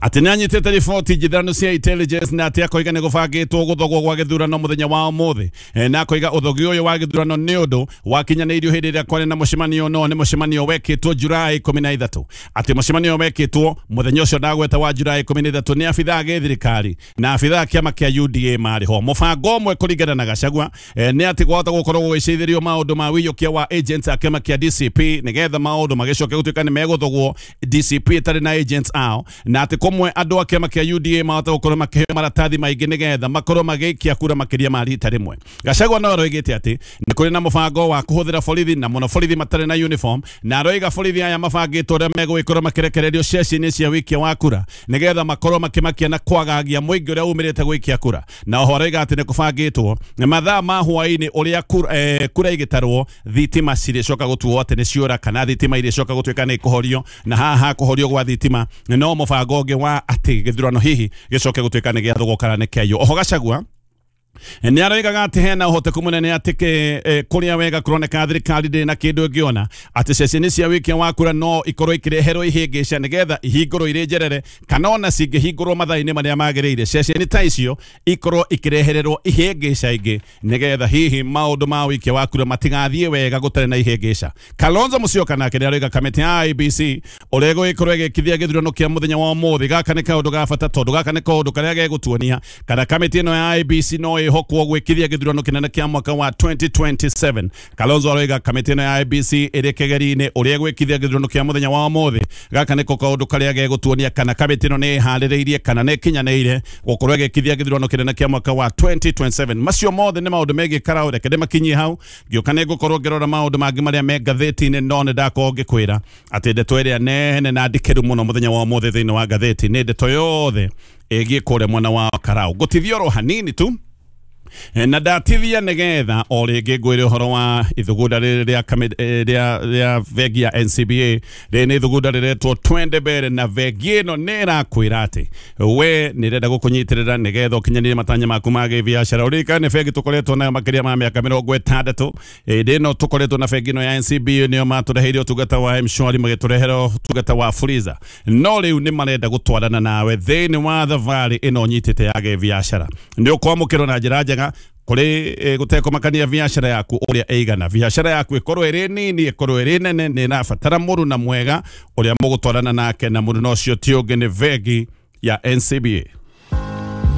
atĩ nĩ anyitĩte riboti njithanu cia intelligence na atĩ akoiga nĩ gũbangĩtwo gũthogwo gwa gĩthurano mũthenya wa ũmũthĩ, na akoiga ũthogi ũyũ wa gĩthurano nĩ ũndũ wakinyanĩirio hĩndĩ ĩrĩa kwarĩ na mũcemanio, no nĩ mũcemanio wekĩtwo Julai ikũmi na ithatũ, atĩ mũcemanio wekĩtwo mũthenya ũcio ndagweta wa Julai ikũmi na ithatũ nĩ abithaa a gĩthirikari na abithaa a kĩama kĩa U D A marĩ ho. Mũbango ũmwe kũringana na Gachagua nĩ atĩ gwahota gũkorwo gũgĩcithĩrio maũndũ ma wĩiyũkia wa agents a kĩama kĩa D C P nĩgetha maũndũ magĩcoke gũtuĩka nĩ megũthogwo D C P ĩtarĩ na agents ao, na atĩ kũmwe andũ a kĩama kĩa U D A mahota gũkorwo makĩheo maratathi maingĩ nĩgetha makorwo magĩikia kura makĩria ma rita rĩmwe. Gachagua no aroigĩte atĩ nĩ kũrĩ na mũbango wa kũhũthĩra borithi na mũno borithi matarĩ na uniform, na aroiga borithi aya mabangĩtwo ũrĩa megũgĩkorwo makĩrekererio ceceni cia wĩikia wa kura nĩgetha makorwo makĩmakia na kwagagia mũingĩ ũrĩa umĩrĩte gũikia kura. Na oho aroiga atĩ nĩ kũbangĩtwo mathaa ma hwaĩ-inĩ ũrĩa kura, eh, kura igĩtarwo thitima cirĩcoka gũtuo atĩ nĩ ciora kana thitima irĩcoka gũtuĩka nĩ ikũhorio, na haha kũhorio gwa thitima no mũbango ũngĩ wa atĩ gĩthurano hihi gĩcoke gũtuĩka nĩ gĩathogwo kana nĩ kĩaiywo. Oho Gachagua Nĩ aroigaga atĩ hena ũhoteku mũnene atĩ kũrĩa wega kũroneka thirikari ndĩrĩ na kĩndũ ĩngĩona atĩ ceceni cia wĩkia wa kura no ikorwo ikĩreherwo ihĩngĩca nĩgetha ihingũrwo irĩ njerere kana ona cingĩhingũrwo mathaa-inĩ marĩa magĩrĩire ceceni ta icio ikorwo ikĩrehererwo ihĩngĩca ingĩ nĩgetha hihi maũndũ ma wĩkia wa kura matigathiĩ wega gũtarĩ na ihĩngĩca. Kalonzo Musyoka nake nĩ aroiga kamĩtĩ ya I E B C ũrĩa ĩgũgĩkorwo ĩgĩkithia gĩthurano kĩa mũthenya wa ũmũthĩ gaka nĩ kaũndũ ga bata tondũ gaka nĩ kaũndũ karĩa gegũtuonia kana kamĩtĩ ĩno ya I E B C no ĩhokwo gwĩkithia gĩthurano kĩnene kĩa mwaka wa twenty twenty-seven. Kalonzo aroiga kamĩtĩ ĩno ya I E B C ĩrĩ kĩgeri-inĩ ũrĩa ĩgwĩkithia gĩthurano kĩa mũthenya wa ũmũthĩ gaka nĩko kaũndũ karĩa gegũtuonia kana kamĩtĩ ĩno nĩ ĩharĩrĩirie kana nĩ ĩkinyanĩire gũkorwo ĩgĩkithia gĩthurano kĩnene kĩa mwaka wa twenty twenty-seven. Macio mothe nĩ maũndũ megiĩ Karau, reke ndĩmakinyie hau ngĩũka nĩ ngũkorwo ngĩrora maũndũ mangĩ marĩa me ngathĩti-inĩ no nĩ ndakorwo ngĩkwĩra atĩ ndeto ĩrĩa nene na ndikĩru mũno mũthenya wa ũmũthĩ thĩinĩ wa ngathĩti nĩ ndeto yothe ĩgiĩ kũrĩa mwena wa Karau. Ngũtithia oro hanini tu na ndatithia nĩgetha o rĩngĩ ngwĩre ũhoro wa ithugunda rĩrĩ rĩa rĩa rĩa bengi ya N C B A. Rĩrĩ nĩ ithugunda rĩretwo Twende Mbere na bengi ĩno nĩ ĩrakwĩra atĩ we nĩ ĩrenda gũkũnyitĩrĩra nĩgetha ũkinyanĩrie matanya maku ma gĩbiacara. Ũririkane bengi tũkoretwo nayo makĩria ma mĩaka mĩrongo ĩtandatũ. Hĩndĩ ĩno tũkoretwo na bengi ĩno ya N C B A nĩo matũreheire ũtungata wa M-Shwari magĩtũrehera ũtungata wa Fuliza, no rĩu nĩ marenda gũtwarana nawe thĩinĩ wa thabarĩ ĩno nyitĩte ya gĩbiacara. Nĩ ũkwamũkĩrwo na njĩra njega kuri gutekomakania biacara yaku uria ĩigana. Biacara yaku ikorwo ĩrĩ nini ikorwo ĩrĩ nene nĩ ĩrabatara mũruna mwega ũrĩa mũgũtwarana nake na mũruna ũcio ti ũngĩ nĩ bengi ya N C B A.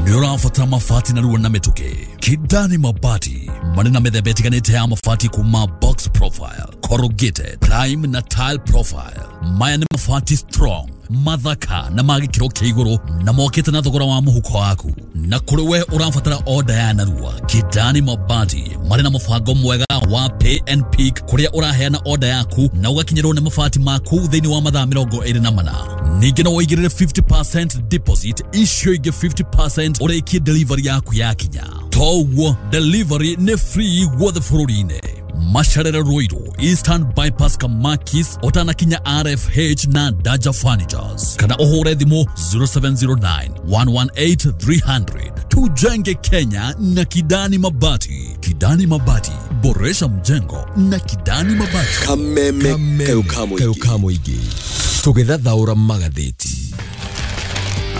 Nĩ ũrabatara mabati narua na mĩtũkĩ. Kidani Mabati marĩ na mĩthemba ĩtiganĩte ya mabati kuma box profile, corrugated, prime na tile profile. Maya nĩ mabati strong, mathaka na ma gĩkĩro kĩa igũrũ na mokĩte na thogora wa mũhuko waku. Na kũrĩ we ũrabatara order ya narua, Kidani Mabati marĩ na mũbango mwega wa pay and pick kũrĩa ũraheana order yaku na ũgakinyĩrwo nĩ mabati maku thĩinĩ wa mathaa mĩrongo ĩrĩ na mana. Ningĩ no ũigĩrĩre fifty percent deposit, icio ingĩ fifty percent ũrĩkie delivery yaku yakinya. Toguo delivery nĩ free guothe bũrũri-inĩ. Masharere Ruiru, Eastern Bypass Kamakis, ũtanakinya R F H na Daja Furnitures. Kana ũhũre thimũ zero seven zero nine, one one eight, three hundred. Tujenge Kenya na Kidani Mabati. Kidani Mabati, boresha mjengo na Kidani Mabati. Kameme Kayukamuigi. Tũgĩthathaũra magathĩti.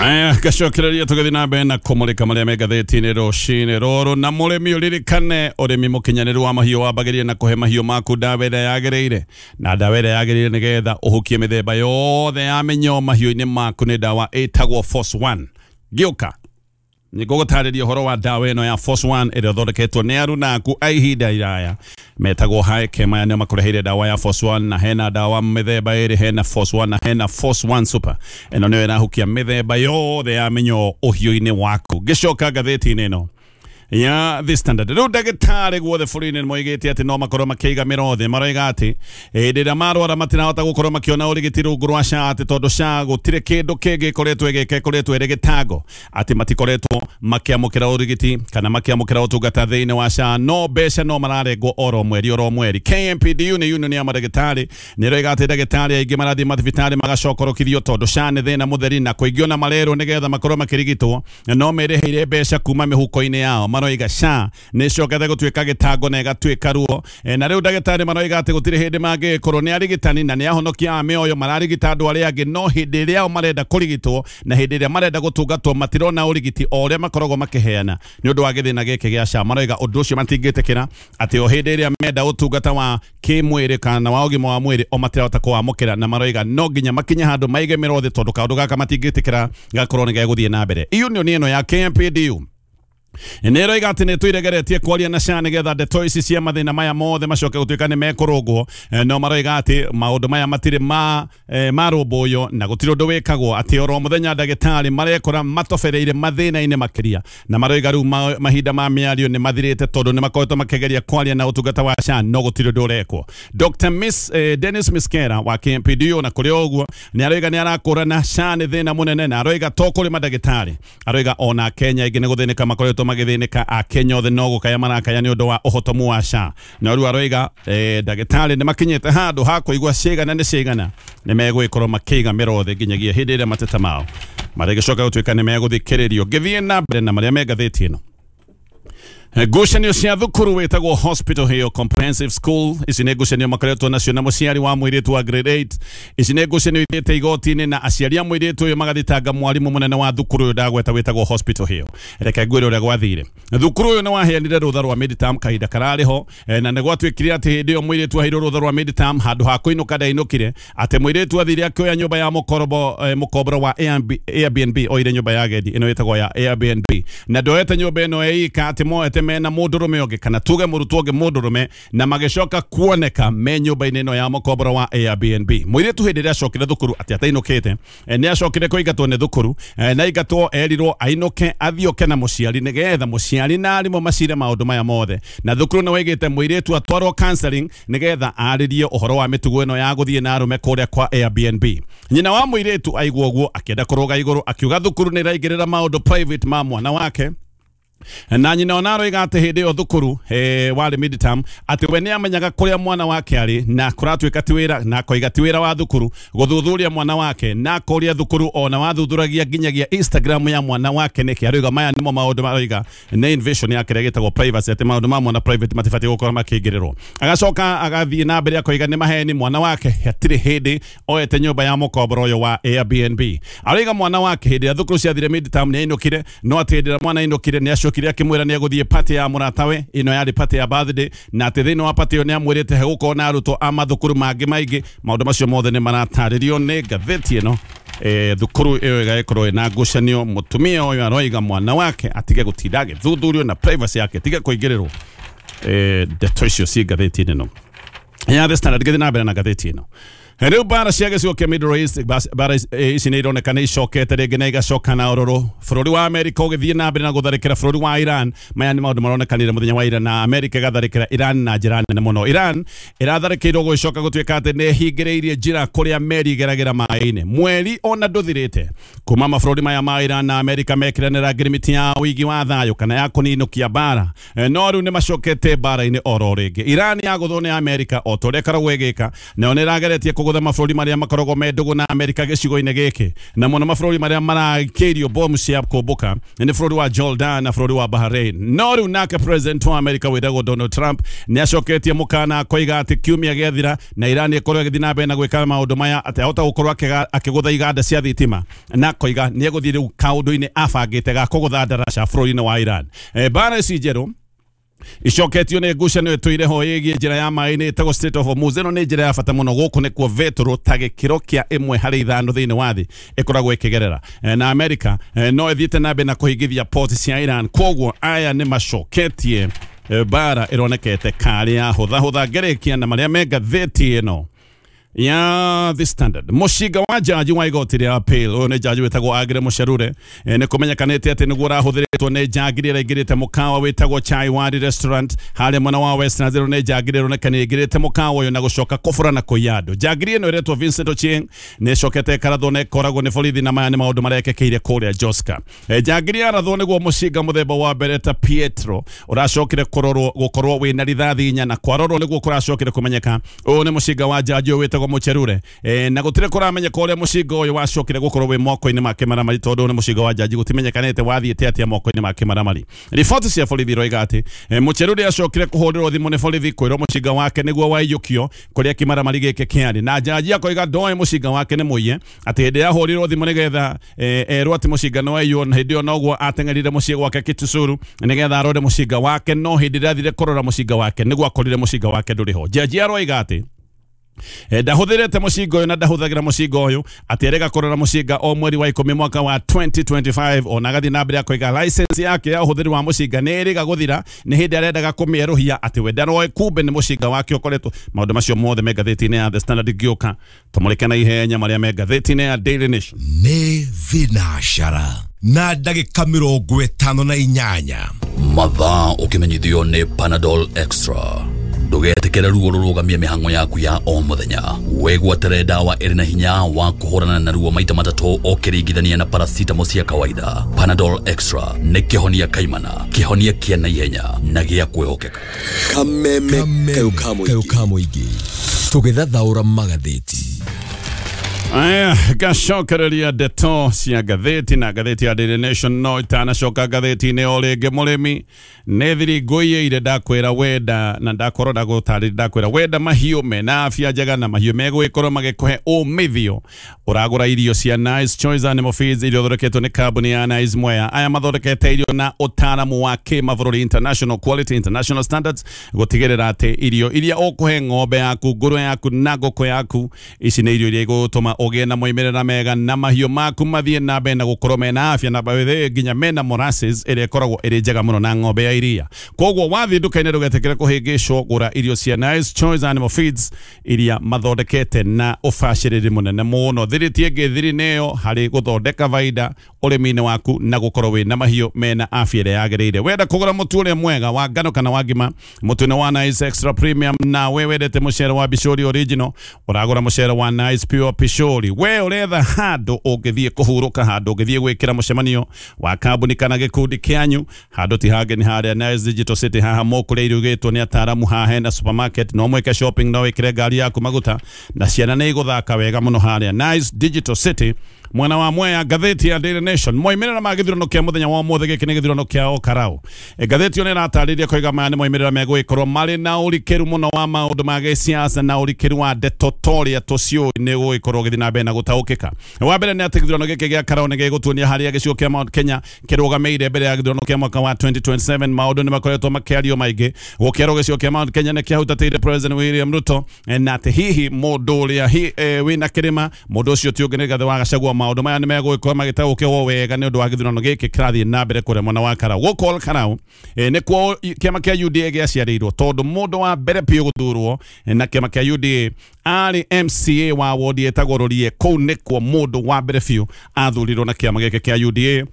Aya, gacokereria tũgĩthiĩ na mbere na kũmũrĩka marĩa me ngathĩti-inĩ rũcinĩ rũrũ. Na mũrĩmi ũririkane ũrĩmi mũkinyanĩru wa mahiũ wambagĩrĩria na kũhe mahiũ maku ndawa ĩrĩa yagĩrĩire, na ndawa ĩrĩa yagĩrĩire nĩgetha ũhukie mĩthemba yothe ya mĩnyoo mahiũ-inĩ maku nĩ ndawa ĩtagwo Force One. Gĩũka nĩngũgũtarĩria ũhoro wa ndawa ĩno ya Force One ĩrĩa ĩthondeketwo nĩ arunaku a ihinda iraya metagwo Haike. Maya nĩo makũreheire ndawa ya Force One, na hena ndawa mĩthemba ĩrĩ, hena Force One na hena Force One Super. Ĩno nĩyo ĩrahukia mĩthemba yothe ya mĩnyoo ũhiũ-inĩ waku. Ngĩcoka ngathĩti-inĩ ĩno ya The Standard, rĩu ndagĩtarĩ guothe bũrũri-inĩ nĩmoigĩte atĩ no makorwo makĩiga mĩrothe. Maroiga atĩ hĩndĩ ĩrĩa marwara matirahota gũkorwo makĩona ũrigiti rungu rwa SHA, atĩ tondũ SHA gũtirĩ kĩndũ kĩngĩ ĩkoretwo ĩgĩka ĩkoretwo ĩrĩ gĩtango, atĩ matikoretwo makĩamũkĩra ũrigiti kana makĩamũkĩra ũtungata thĩinĩ wa SHA, no mbeca no mararengwo oro mweri oro mweri. K M P D U nĩ union ya mandagĩtarĩ nĩroiga atĩ ndagĩtarĩ aingĩ marathiĩ mathibitarĩ magacokorokithio tondũ SHA nĩ thĩna mũtheri, na kũingĩ ona marerwo nĩgetha makorwo makĩrigitwo no merĩhĩire mbeca kuma mĩhuko-inĩ yao. Maroiga SHA nĩ ĩcokete gũtuĩka gĩtango na ĩgatuĩka ruo. E, na rĩu ndagĩtarĩ maroiga atĩ gũtirĩ hĩndĩ mangĩkorwo nĩ arigitani na nĩ ahonokia a mĩoyo mararigita andũ arĩa angĩ, no hĩndĩ ĩrĩa o marenda kũrigitwo na hĩndĩ ĩrĩa marenda gũtungatwo matirona ũrigiti o ũrĩa makoragwo makĩheana nĩ ũndũ wa gĩthĩna gĩkĩ gĩa SHA. Maroiga ũndũ ũcio matingĩtĩkĩra atĩ o hĩndĩ ĩrĩa menda ũtungata wa kĩmwĩrĩ kana wa ũgima wa mwĩrĩ o matirahota kũwamũkĩra, na maroiga no nginya makinye handũ maige mĩrothe tondũ kaũndũ gaka matingĩtĩkĩra gakorwo nĩ gegũthiĩ na mbere. Union ĩno ya K M P D U nĩ ĩroiga atĩ nĩ tũiregeretie kwaria na SHA nĩgetha ndeto ici cia mathĩna maya mothe macoke gũtuĩka nĩ mekũrũngwo. No maroiga atĩ maũndũ maya matirĩ ma marũmbũywo na gũtirĩ ũndũ wĩkagwo, atĩ oro mũthenya ndagĩtarĩ marekora matobereire mathĩna-inĩ makĩria, na maroiga rĩu mahinda ma mĩario nĩ mathirĩte tondũ nĩ makoretwo makĩgeria kwaria na ũtungata wa SHA no gũtirĩ ũndũ ũrekwo. Doctor Miss eh, Dennis Miskera wa K M P D U na kũrĩ o ũguo nĩ aroiga nĩ arakũrana SHA nĩ thĩna mũnene, na aroiga to kũrĩ mandagĩtarĩ, aroiga ona Kenya aingĩ nĩ gũthĩnĩka makoretwo magĩthĩnĩka, a Kenya othe no gũkaya marakaya nĩ ũndũ wa ũhotomu wa SHA. Na rĩu aroiga eh, ndagĩtarĩ nĩ makinyĩte handũ ha kũigua cigana nĩ cigana nĩ megũgĩkorwo makĩiga mĩrothe nginyagia hĩndĩ ĩrĩa mateta mao marĩgĩcoka gũtuĩka nĩ megũthikĩrĩrio. Ngĩthiĩ na mbere na marĩa me ngathĩti ĩno, Ngucanio cia thukuru wĩtagwo Hospital Hill Comprehensive School. Ici nĩ ngucanio makoretwo nacio na mũciari wa mũirĩtu wa grade eight. Ici nĩ ngucanio ithiĩte igoti-inĩ na aciari a mũirĩtu ũyũ magathitanga mwarimũ mũnene wa thukuru ũyũ ndagweta wĩtagwo Hospital Hill. Reke ngwĩre ũrĩa gwathire. Thukuru ũyũ nĩ waheanire rũtha rwa midterm kahinda kararĩ ho, na nĩ gwatuĩkire atĩ hĩndĩ ĩyo mũirĩtu aheirwo rũtha rwa midterm handũ ha kũinũka ndainũkire, atĩ mũirĩtu athire akĩoya nyũmba ya mũkorbo mũkomboro wa Airbnb, oire nyũmba ya agendi ĩno ĩtagwo ya Airbnb, na ndoete nyũmba ĩno ĩika atĩ moete mena mũndũrũme ũngĩ kana tuge mũrutwo ũngĩ mũndũrũme, na magĩcoka kuoneka me nyũmba-inĩ ĩno ya mũkomboro wa Airbnb. Mũirĩtu hĩndĩ ĩrĩa acokire thukuru atĩ atainũkĩte, nĩ acokire kũingatwo nĩ thukuru, na aingatwo erirwo ainũke athiĩ na mũciari nĩgetha mũciari na arimũ macire maũndũ maya mothe, na thukuru nĩ waigĩte mũirĩtu atwarwo counseling nĩgetha arĩrie ũhoro wa mĩtugo ĩno ya gũthiĩ na arũme kũrĩa kwa Airbnb. Nyina wa mũirĩtu aigua ũguo akĩenda kũrũga igũrũ, akiuga thukuru nĩ ĩraingĩrĩra maũndũ private ma mwana wake. Na nyina ona aroiga atĩ hĩndĩ ĩyo thukuru eh, warĩ midterm atĩ we nĩamenyaga kũrĩa mwana wake arĩ, na kũratuĩka ti wĩra, na akoiga ti wĩra wa thukuru gũthuthuria mwana wake, na akoria thukuru ona wathuthuragia nginyagia Instagram ya mwana wake nĩkĩ. Aroiga maya nĩmo maũndũ maroiga nĩ invasion ya kĩrĩa gĩtagwo privacy, atĩ maũndũ ma mwana private matibatiĩ gũkorwo makĩingĩrĩrwo. Agacoka agathiĩ na mbere akoiga nĩ maheni, mwana wake hatirĩ hĩndĩ oete nyũmba ya mũkomboro ũyũ wa Airbnb. Aroiga mwana wake hĩndĩ ĩrĩa thukuru ciathire midterm nĩ ainũkire, no atĩ hĩndĩ ĩrĩa mwana ainũkire nĩ acokire akĩmwĩra nĩ egũthiĩ party ya mũratawe, ĩno yarĩ party ya birthday, na atĩ thĩinĩ wa party ĩyo nĩ amwĩrĩte hegũkorwo na arutwo a mathukuru mangĩ maingĩ. Maũndũ macio mothe nĩ maratarĩrio nĩ ngathĩti ĩno. Eh, thukuru ĩyo ĩgagĩkorwo ĩna ngucanio, mũtumia ũyũ aroiga mwana wake atige gũtinda agĩthuthurio na privacy yake tige kũingĩrĩrwo. Eh, ndeto icio ci ngathĩti-inĩ ĩno ya The Standard. Gĩthiĩ na mbere na ngathĩti ĩno. Rĩu mbara cia gĩcigo kĩa Middle East, mbara ici nĩ ironeka nĩ icokete rĩngĩ na igacoka na ũrũrũ. Bũrũri wa Amerika ũgĩthiĩ na mbere na gũtharĩkĩra bũrũri wa Iran. Maya nĩ maũndũ maronekanire mũthenya wa ira, na Amerika ĩgatharĩkĩra Iran na njĩra nene mũno. Iran ĩratharĩkĩirwo gũgĩcoka gũtuĩka atĩ nĩ ĩhingĩrĩirie njĩra kũrĩa meri igeragĩra maĩ-inĩ. Mweri ona ndũthirĩte kuma mabũrũri maya ma Iran na Amerika mekĩranĩra ngirimiti ya ũigi wa thayũ kana ya kũninũkia mbara, no rĩu nĩ macokete mbara-inĩ oro rĩngĩ. Iran yagũthwo nĩ Amerika o ta ũrĩa ĩkoragwo ĩgĩka, nayo nĩ ĩrageretie kũgũtha mabũrũri marĩa makoragwo me ndũgũ na Amerika gĩcigo-inĩ gĩkĩ, na mũno mabũrũri marĩa marakĩirio bomu cia kũmbũka nĩ bũrũri wa Jordan na bũrũri wa Bahrain. No rĩu nake president wa Amerika wĩtagwo Donald Trump nĩ acoketie mũkana akoiga atĩ kiumia gĩathira na Iran ĩkorwo ĩgĩthiĩ na mbere na gwĩka maũndũ maya, atĩ ahota gũkorwo akĩgũtha iganda cia thitima, na akoiga nĩ egũthiĩ rĩu kaũndũ-inĩ abangĩte ga kũgũtha ndaraca bũrũri-inĩ wa Iran. Mbara ici njerũ icoketio nĩ ngucanio ĩtũire ho ĩgiĩ njĩra ya maĩ-inĩ ĩtagwo Strait of Hormuz. Ĩno nĩ njĩra ya bata mũno, gũkũ nĩkuo vetũrũ ta gĩkĩro kĩa ĩmwe harĩ ithano thĩinĩ wa thĩ ĩkoragwo ĩkĩgerera, na Amerika no ĩthiĩte na mbere na kũhingithia port cia Iran. Koguo aya nĩ macoketie mbara ĩronekete karĩ ya hũthahũtha. Ngerekia na marĩa me ngathĩti ĩno ya The Standard. Mũcinga wa jaji wa igoti rĩa appeal, ũyũ nĩ jaji wĩtagwo Agre Mũcerure, nĩ kũmenyekanĩte atĩ nĩguo ũrahũthĩrĩtwo nĩ njangiri ĩrĩa ĩingĩrĩte mũkawa wĩtagwo Chai Wadi Restaurant harĩa mwena wa West Zero. Nĩ njangiri ĩroneka nĩ ĩingĩrĩte mũkawa ũyũ na gũcoka kũbũra na kũiya andũ. Njangiri ĩno ĩretwo Vincent Ochieng nĩ ĩcokete ĩkarathwo na ĩkoragwo nĩ borithi, na maya nĩ maũndũ marekĩkĩire kũrĩa Joska. Njangiri yarathwo nĩguo mũcinga mũthemba wa Beretta Pietro ũracokire kũrorwo gũkorwo wĩna rithathi inya, na kwarorwo nĩguo kũracokire kũmenyeka ũyũ nĩ mũcinga wa jaji ũyũ wĩtagwo Mũcherure. E, na gũtirĩ kũramenyeka ũrĩa mũcinga ũyũ wacokire gũkorwo wĩ moko-inĩ ma kĩmaramari, tondũ nĩ mũcinga wa jaji gũtimenyekanĩte wathiĩte atĩa moko-inĩ ma kĩmaramari. Riboti cia borithi iroiga atĩ e, Mũcherure acokire kũhũrĩrwo thimũ nĩ borithi kwĩrwo mũcinga wake nĩguo waiyũkio kũrĩa kĩmaramari gĩkĩ kĩarĩ, na jaji akoiga ndoĩ mũcinga wake nĩ mũiye, atĩ hĩndĩ yahũrirwo thimũ nĩgetha e, erwo atĩ mũcinga nĩ waiywo, na hĩndĩ ĩyo noguo ateng'erire mũciĩ gwake Kitusuru nĩgetha arore mũcinga wake, no hĩndĩ ĩrĩa athire kũrora mũcinga wake nĩguo akorire mũcinga wake ndũrĩ ho. Jaji aroiga atĩ ndahũthĩrĩte mũcinga ũyũ na ndahũthagĩra mũcinga ũyũ, atĩ erĩga kũrora mũcinga o mweri wa ikũmi mwaka wa twenty twenty-five. Ona agathiĩ na mbere akoiga license yake ya ũhũthĩri wa mũcinga nĩ ĩrĩga gũthira, nĩ hĩndĩ arendaga kũmĩerũhia, atĩ we ndaroĩ kumbe nĩ mũcinga wake ũkoretwo. Maũndũ macio mothe me ngathĩti-inĩ ya The Standard. Ngĩũka tũmũrĩke na ihenya marĩa me ngathĩti-inĩ ya Daily Nation. Nĩ thinacara na ndagĩka mĩrongo ĩtano na inyanya. Mathaa ũkĩmenyithio nĩ Panadol Extra. Ndũgetĩkĩre ruo rũrũgamie mĩhang'o yaku ya o mũthenya. Wĩgwatĩre ndawa ĩrĩ na hinya wa kũhũrana na ruo maita matatũ ũkĩringithania na paracetamol cia kawaida. Panadol Extra nĩ kĩhonia kaimana, kĩhonia kĩa naihenya na gĩa kwĩhokeka. Kameme kayo ka mũingĩ tũgĩthathaũra magathĩti. Aya, gacokereria ndeto cia ngathĩti na ngathĩti ya Daily Nation no itanacoka ngathĩti-inĩ o rĩngĩ mũrĩmi nĩ thiri ngũiyĩire ndakwĩra wenda na ndakorwo ndagũtarĩria ndakwĩra wenda mahiũ mena afya njega na mahiũ megũgĩkorwo magĩkũhe umithio ũragũra irio cia Nice Choice Animal Feeds iria ithondeketwo nĩ kambuni ya Nice Mwea. Aya mathondekete irio na ũtaaramu wa kĩmabũrũri, international quality, international standards, gũtigĩrĩra atĩ irio iria ũkũhe ng'ombe yaku, ngũrwe yaku na ngũkũ yaku, ici nĩ irio iria igũtũma ũgĩe na moimĩrĩra mega na mahiũ maku mathiĩ na mbere na gũkorwo mena afya na baithe nginya mena molasses ĩrĩa ĩkoragwo ĩrĩ njega mũno na ng'ombe ya iria. Koguo wathiĩ nduka-inĩ ndũgetĩkĩre kũhĩngĩcwo, gũra irio cia Nice Choice Animal Feeds iria mathondekete na ũbacĩrĩri mũnene mũno. Thiri ti ĩngĩ, thiri nĩyo harĩ gũthondeka baida ũrĩmi-inĩ waku na gũkorwo wĩna mahiũ mena afya ĩrĩa yagĩrĩire. Wenda kũgũra mũtu ũrĩa mwega wa ngano kana wa ngima, mũtu nĩ wa Nice Extra Premium, na we wendete mũcere wa Bishori Original, ũragũra mũcere wa Nice Pure Pishori. We ũretha handũ ũngĩthiĩ kũhurũka, handũ ũngĩthiĩ gwĩkĩra mũcemanio wa kambuni kana gĩkundi kĩanyu, handũ ti hangĩ nĩ harĩa Nice Digital City. Haha mũkũrĩa irugĩtwo nĩ ataaramu, haha hena supermarket, no mwĩke shopping, no wĩkĩre ngari yaku maguta na ciana nĩ igũthaka wega mũno harĩa Nice Digital City mwena wa Mwea. Ngathĩti ya Daily Nation, moimĩrĩra ma gĩthurano kĩa mũthenya wa ũmũthĩ, gĩkĩ nĩ gĩthurano kĩa Okarau. E, ngathĩti ĩyo nĩ ĩratarĩria koiga maya nĩ moimĩrĩra megũgĩkorwo marĩ na ũrikĩru mũno wa maũndũ ma gĩsiasa na ũrikĩru wa ndeto torĩa tũciũĩ nĩ gũgĩkorwo gĩthiĩ na mbere na gũtaũkĩka. Wa mbere nĩ atĩ gĩthurano gĩkĩ gĩa Karau nĩ gĩgũtuonia harĩa gĩcigo kĩa Mount Kenya kĩrũgamĩire mbere ya gĩthurano kĩa mwaka wa twenty twenty-seven. Maũndũ nĩ makoretwo makĩario maingĩ gũkĩerwo gĩcigo kĩa Mount Kenya nĩ kĩahutatĩire President William Ruto, na atĩ hihi mũndũ ũrĩa hi, e, wĩna kĩrĩma mũndũ ũcio ti ũngĩ nĩ Rigathĩ wa Gachagua. Maũndũ maya nĩ megũgĩkorwo magĩtaũkĩrwo wega nĩ ũndũ wa gĩthurano gĩkĩ kĩrathiĩ na mbere kũrĩa mwena wa Karau. Gũkũ Karau e, nĩkuo kĩama kĩa U D A gĩaciarĩirwo, tondũ mũndũ wa mbere biũ gũthurwo na kĩama kĩa U D A arĩ M C A wa wodi ĩtagwo Rũriĩ. Kũu nĩkuo mũndũ wa mbere biũ athurirwo na kĩama gĩkĩ kĩa U D A.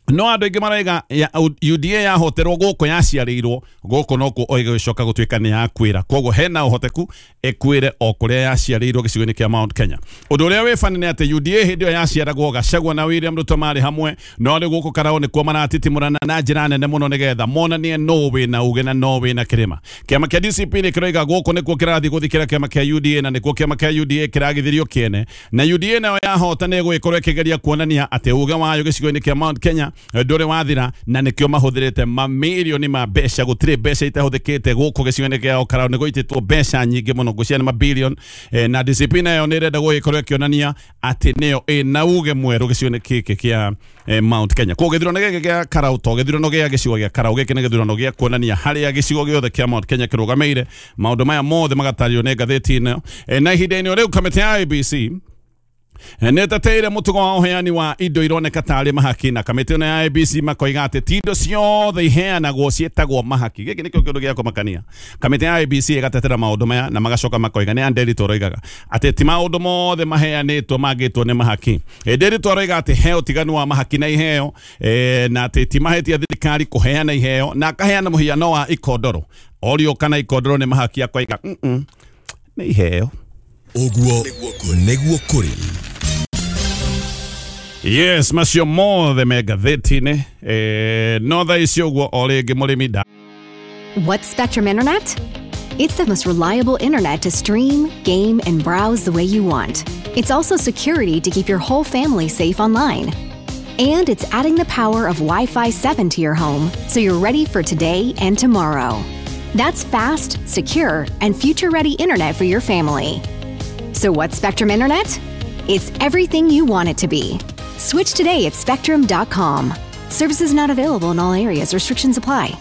No andũ aingĩ maraiga ya U D A yahoterwo gũkũ yaciarĩirwo gũkũ nokuo ĩgĩcoka gũtuĩka nĩ yakuĩra, koguo hena ũhoteku ĩkuĩre o kũrĩa yaciarĩirwo gĩcigo-inĩ kĩa Mount Kenya. Ũndũ ũrĩa wĩ bani nĩ atĩ U D A hĩndĩ ĩyo yaciaragwo Gachagua na William Ruto marĩ hamwe, no rĩu gũkũ Karau nĩkuo maratitimũrana na njĩra nene mũno nĩgetha monanie no wĩna uge na no wĩna kĩrĩma. Kĩama kĩa D C P nĩ kĩroiga gũkũ nĩkuo kĩrathiĩ gũthikĩra kĩama kĩa U D A na nĩkuo kĩama kĩa U D A kĩragithirio kĩene, na U D A nayo yahota nĩ ĩgũgĩkorwo ĩkĩgeria kuonania atĩ uge wayo gĩcigo-inĩ kĩa Mount Kenya ndũrĩ wathira, na nĩkĩo mahũthĩrĩte mamirioni ma mbeca. Gũtirĩ mbeca itahũthĩkĩte gũkũ gĩcigo-inĩ kĩa Karau, nĩ gũitĩtwo mbeca nyingĩ mũno, ngũcia nĩ mabilion, eh, na D C P nayo nĩ ĩrenda gũgĩkorwo ĩkĩonania atĩ nĩyo ĩna uge mwerũ gĩcigo-inĩ gĩkĩ kĩa eh, Mount Kenya. Koguo gĩthurano gĩkĩ gĩa Karau to gĩthurano gĩa gĩcigo gĩa Karau, gĩkĩ nĩ gĩthurano gĩa kuonania harĩa gĩcigo gĩothe kĩa Mount Kenya kĩrũgamĩire. Maũndũ maya mothe magatarĩrio nĩ ngathĩti ĩno. Eh, na ihinda-inĩ o rĩu kamĩtĩ ya I B C nĩ ĩteteire mũtugo wa ũheani wa indo ironeka tarĩ mahaki, na kamĩtĩ ĩno ya I B C makoiga atĩ ti indo ciothe iheanagwo ciĩtagwo mahaki. Gĩkĩ nĩkĩo kĩndũ gĩa kũmakania. Kamĩtĩ ya I B C ĩgatetera maũndũ maya na magacoka makoiga, nĩ Nderitu aroigaga atĩ ti maũndũ mothe maheanĩtwo mangĩtwo nĩ mahaki. Nderitu aroiga atĩ he ũtiganu wa mahaki na iheo, e, na atĩ ti mahĩtia thirikari kũheana iheo, na akaheana mũhiano wa ikondoro. Orio kana ikondoro nĩ mahaki, akoiga mm -mm, nĩ iheo. Ũguo nĩguo kũrĩ. Yes, macio mothe me ngathĩti-inĩ. Eh, no thaa ici ũguo o rĩngĩ mũrĩmi nda. What's Spectrum Internet? It's the most reliable internet to stream, game, and browse the way you want. It's also security to keep your whole family safe online. And it's adding the power of Wi-Fi seven to your home, so you're ready for today and tomorrow. That's fast, secure, and future-ready internet for your family. So what's Spectrum Internet? It's everything you want it to be. Switch today at spectrum dot com. Services not available in all areas. Restrictions apply.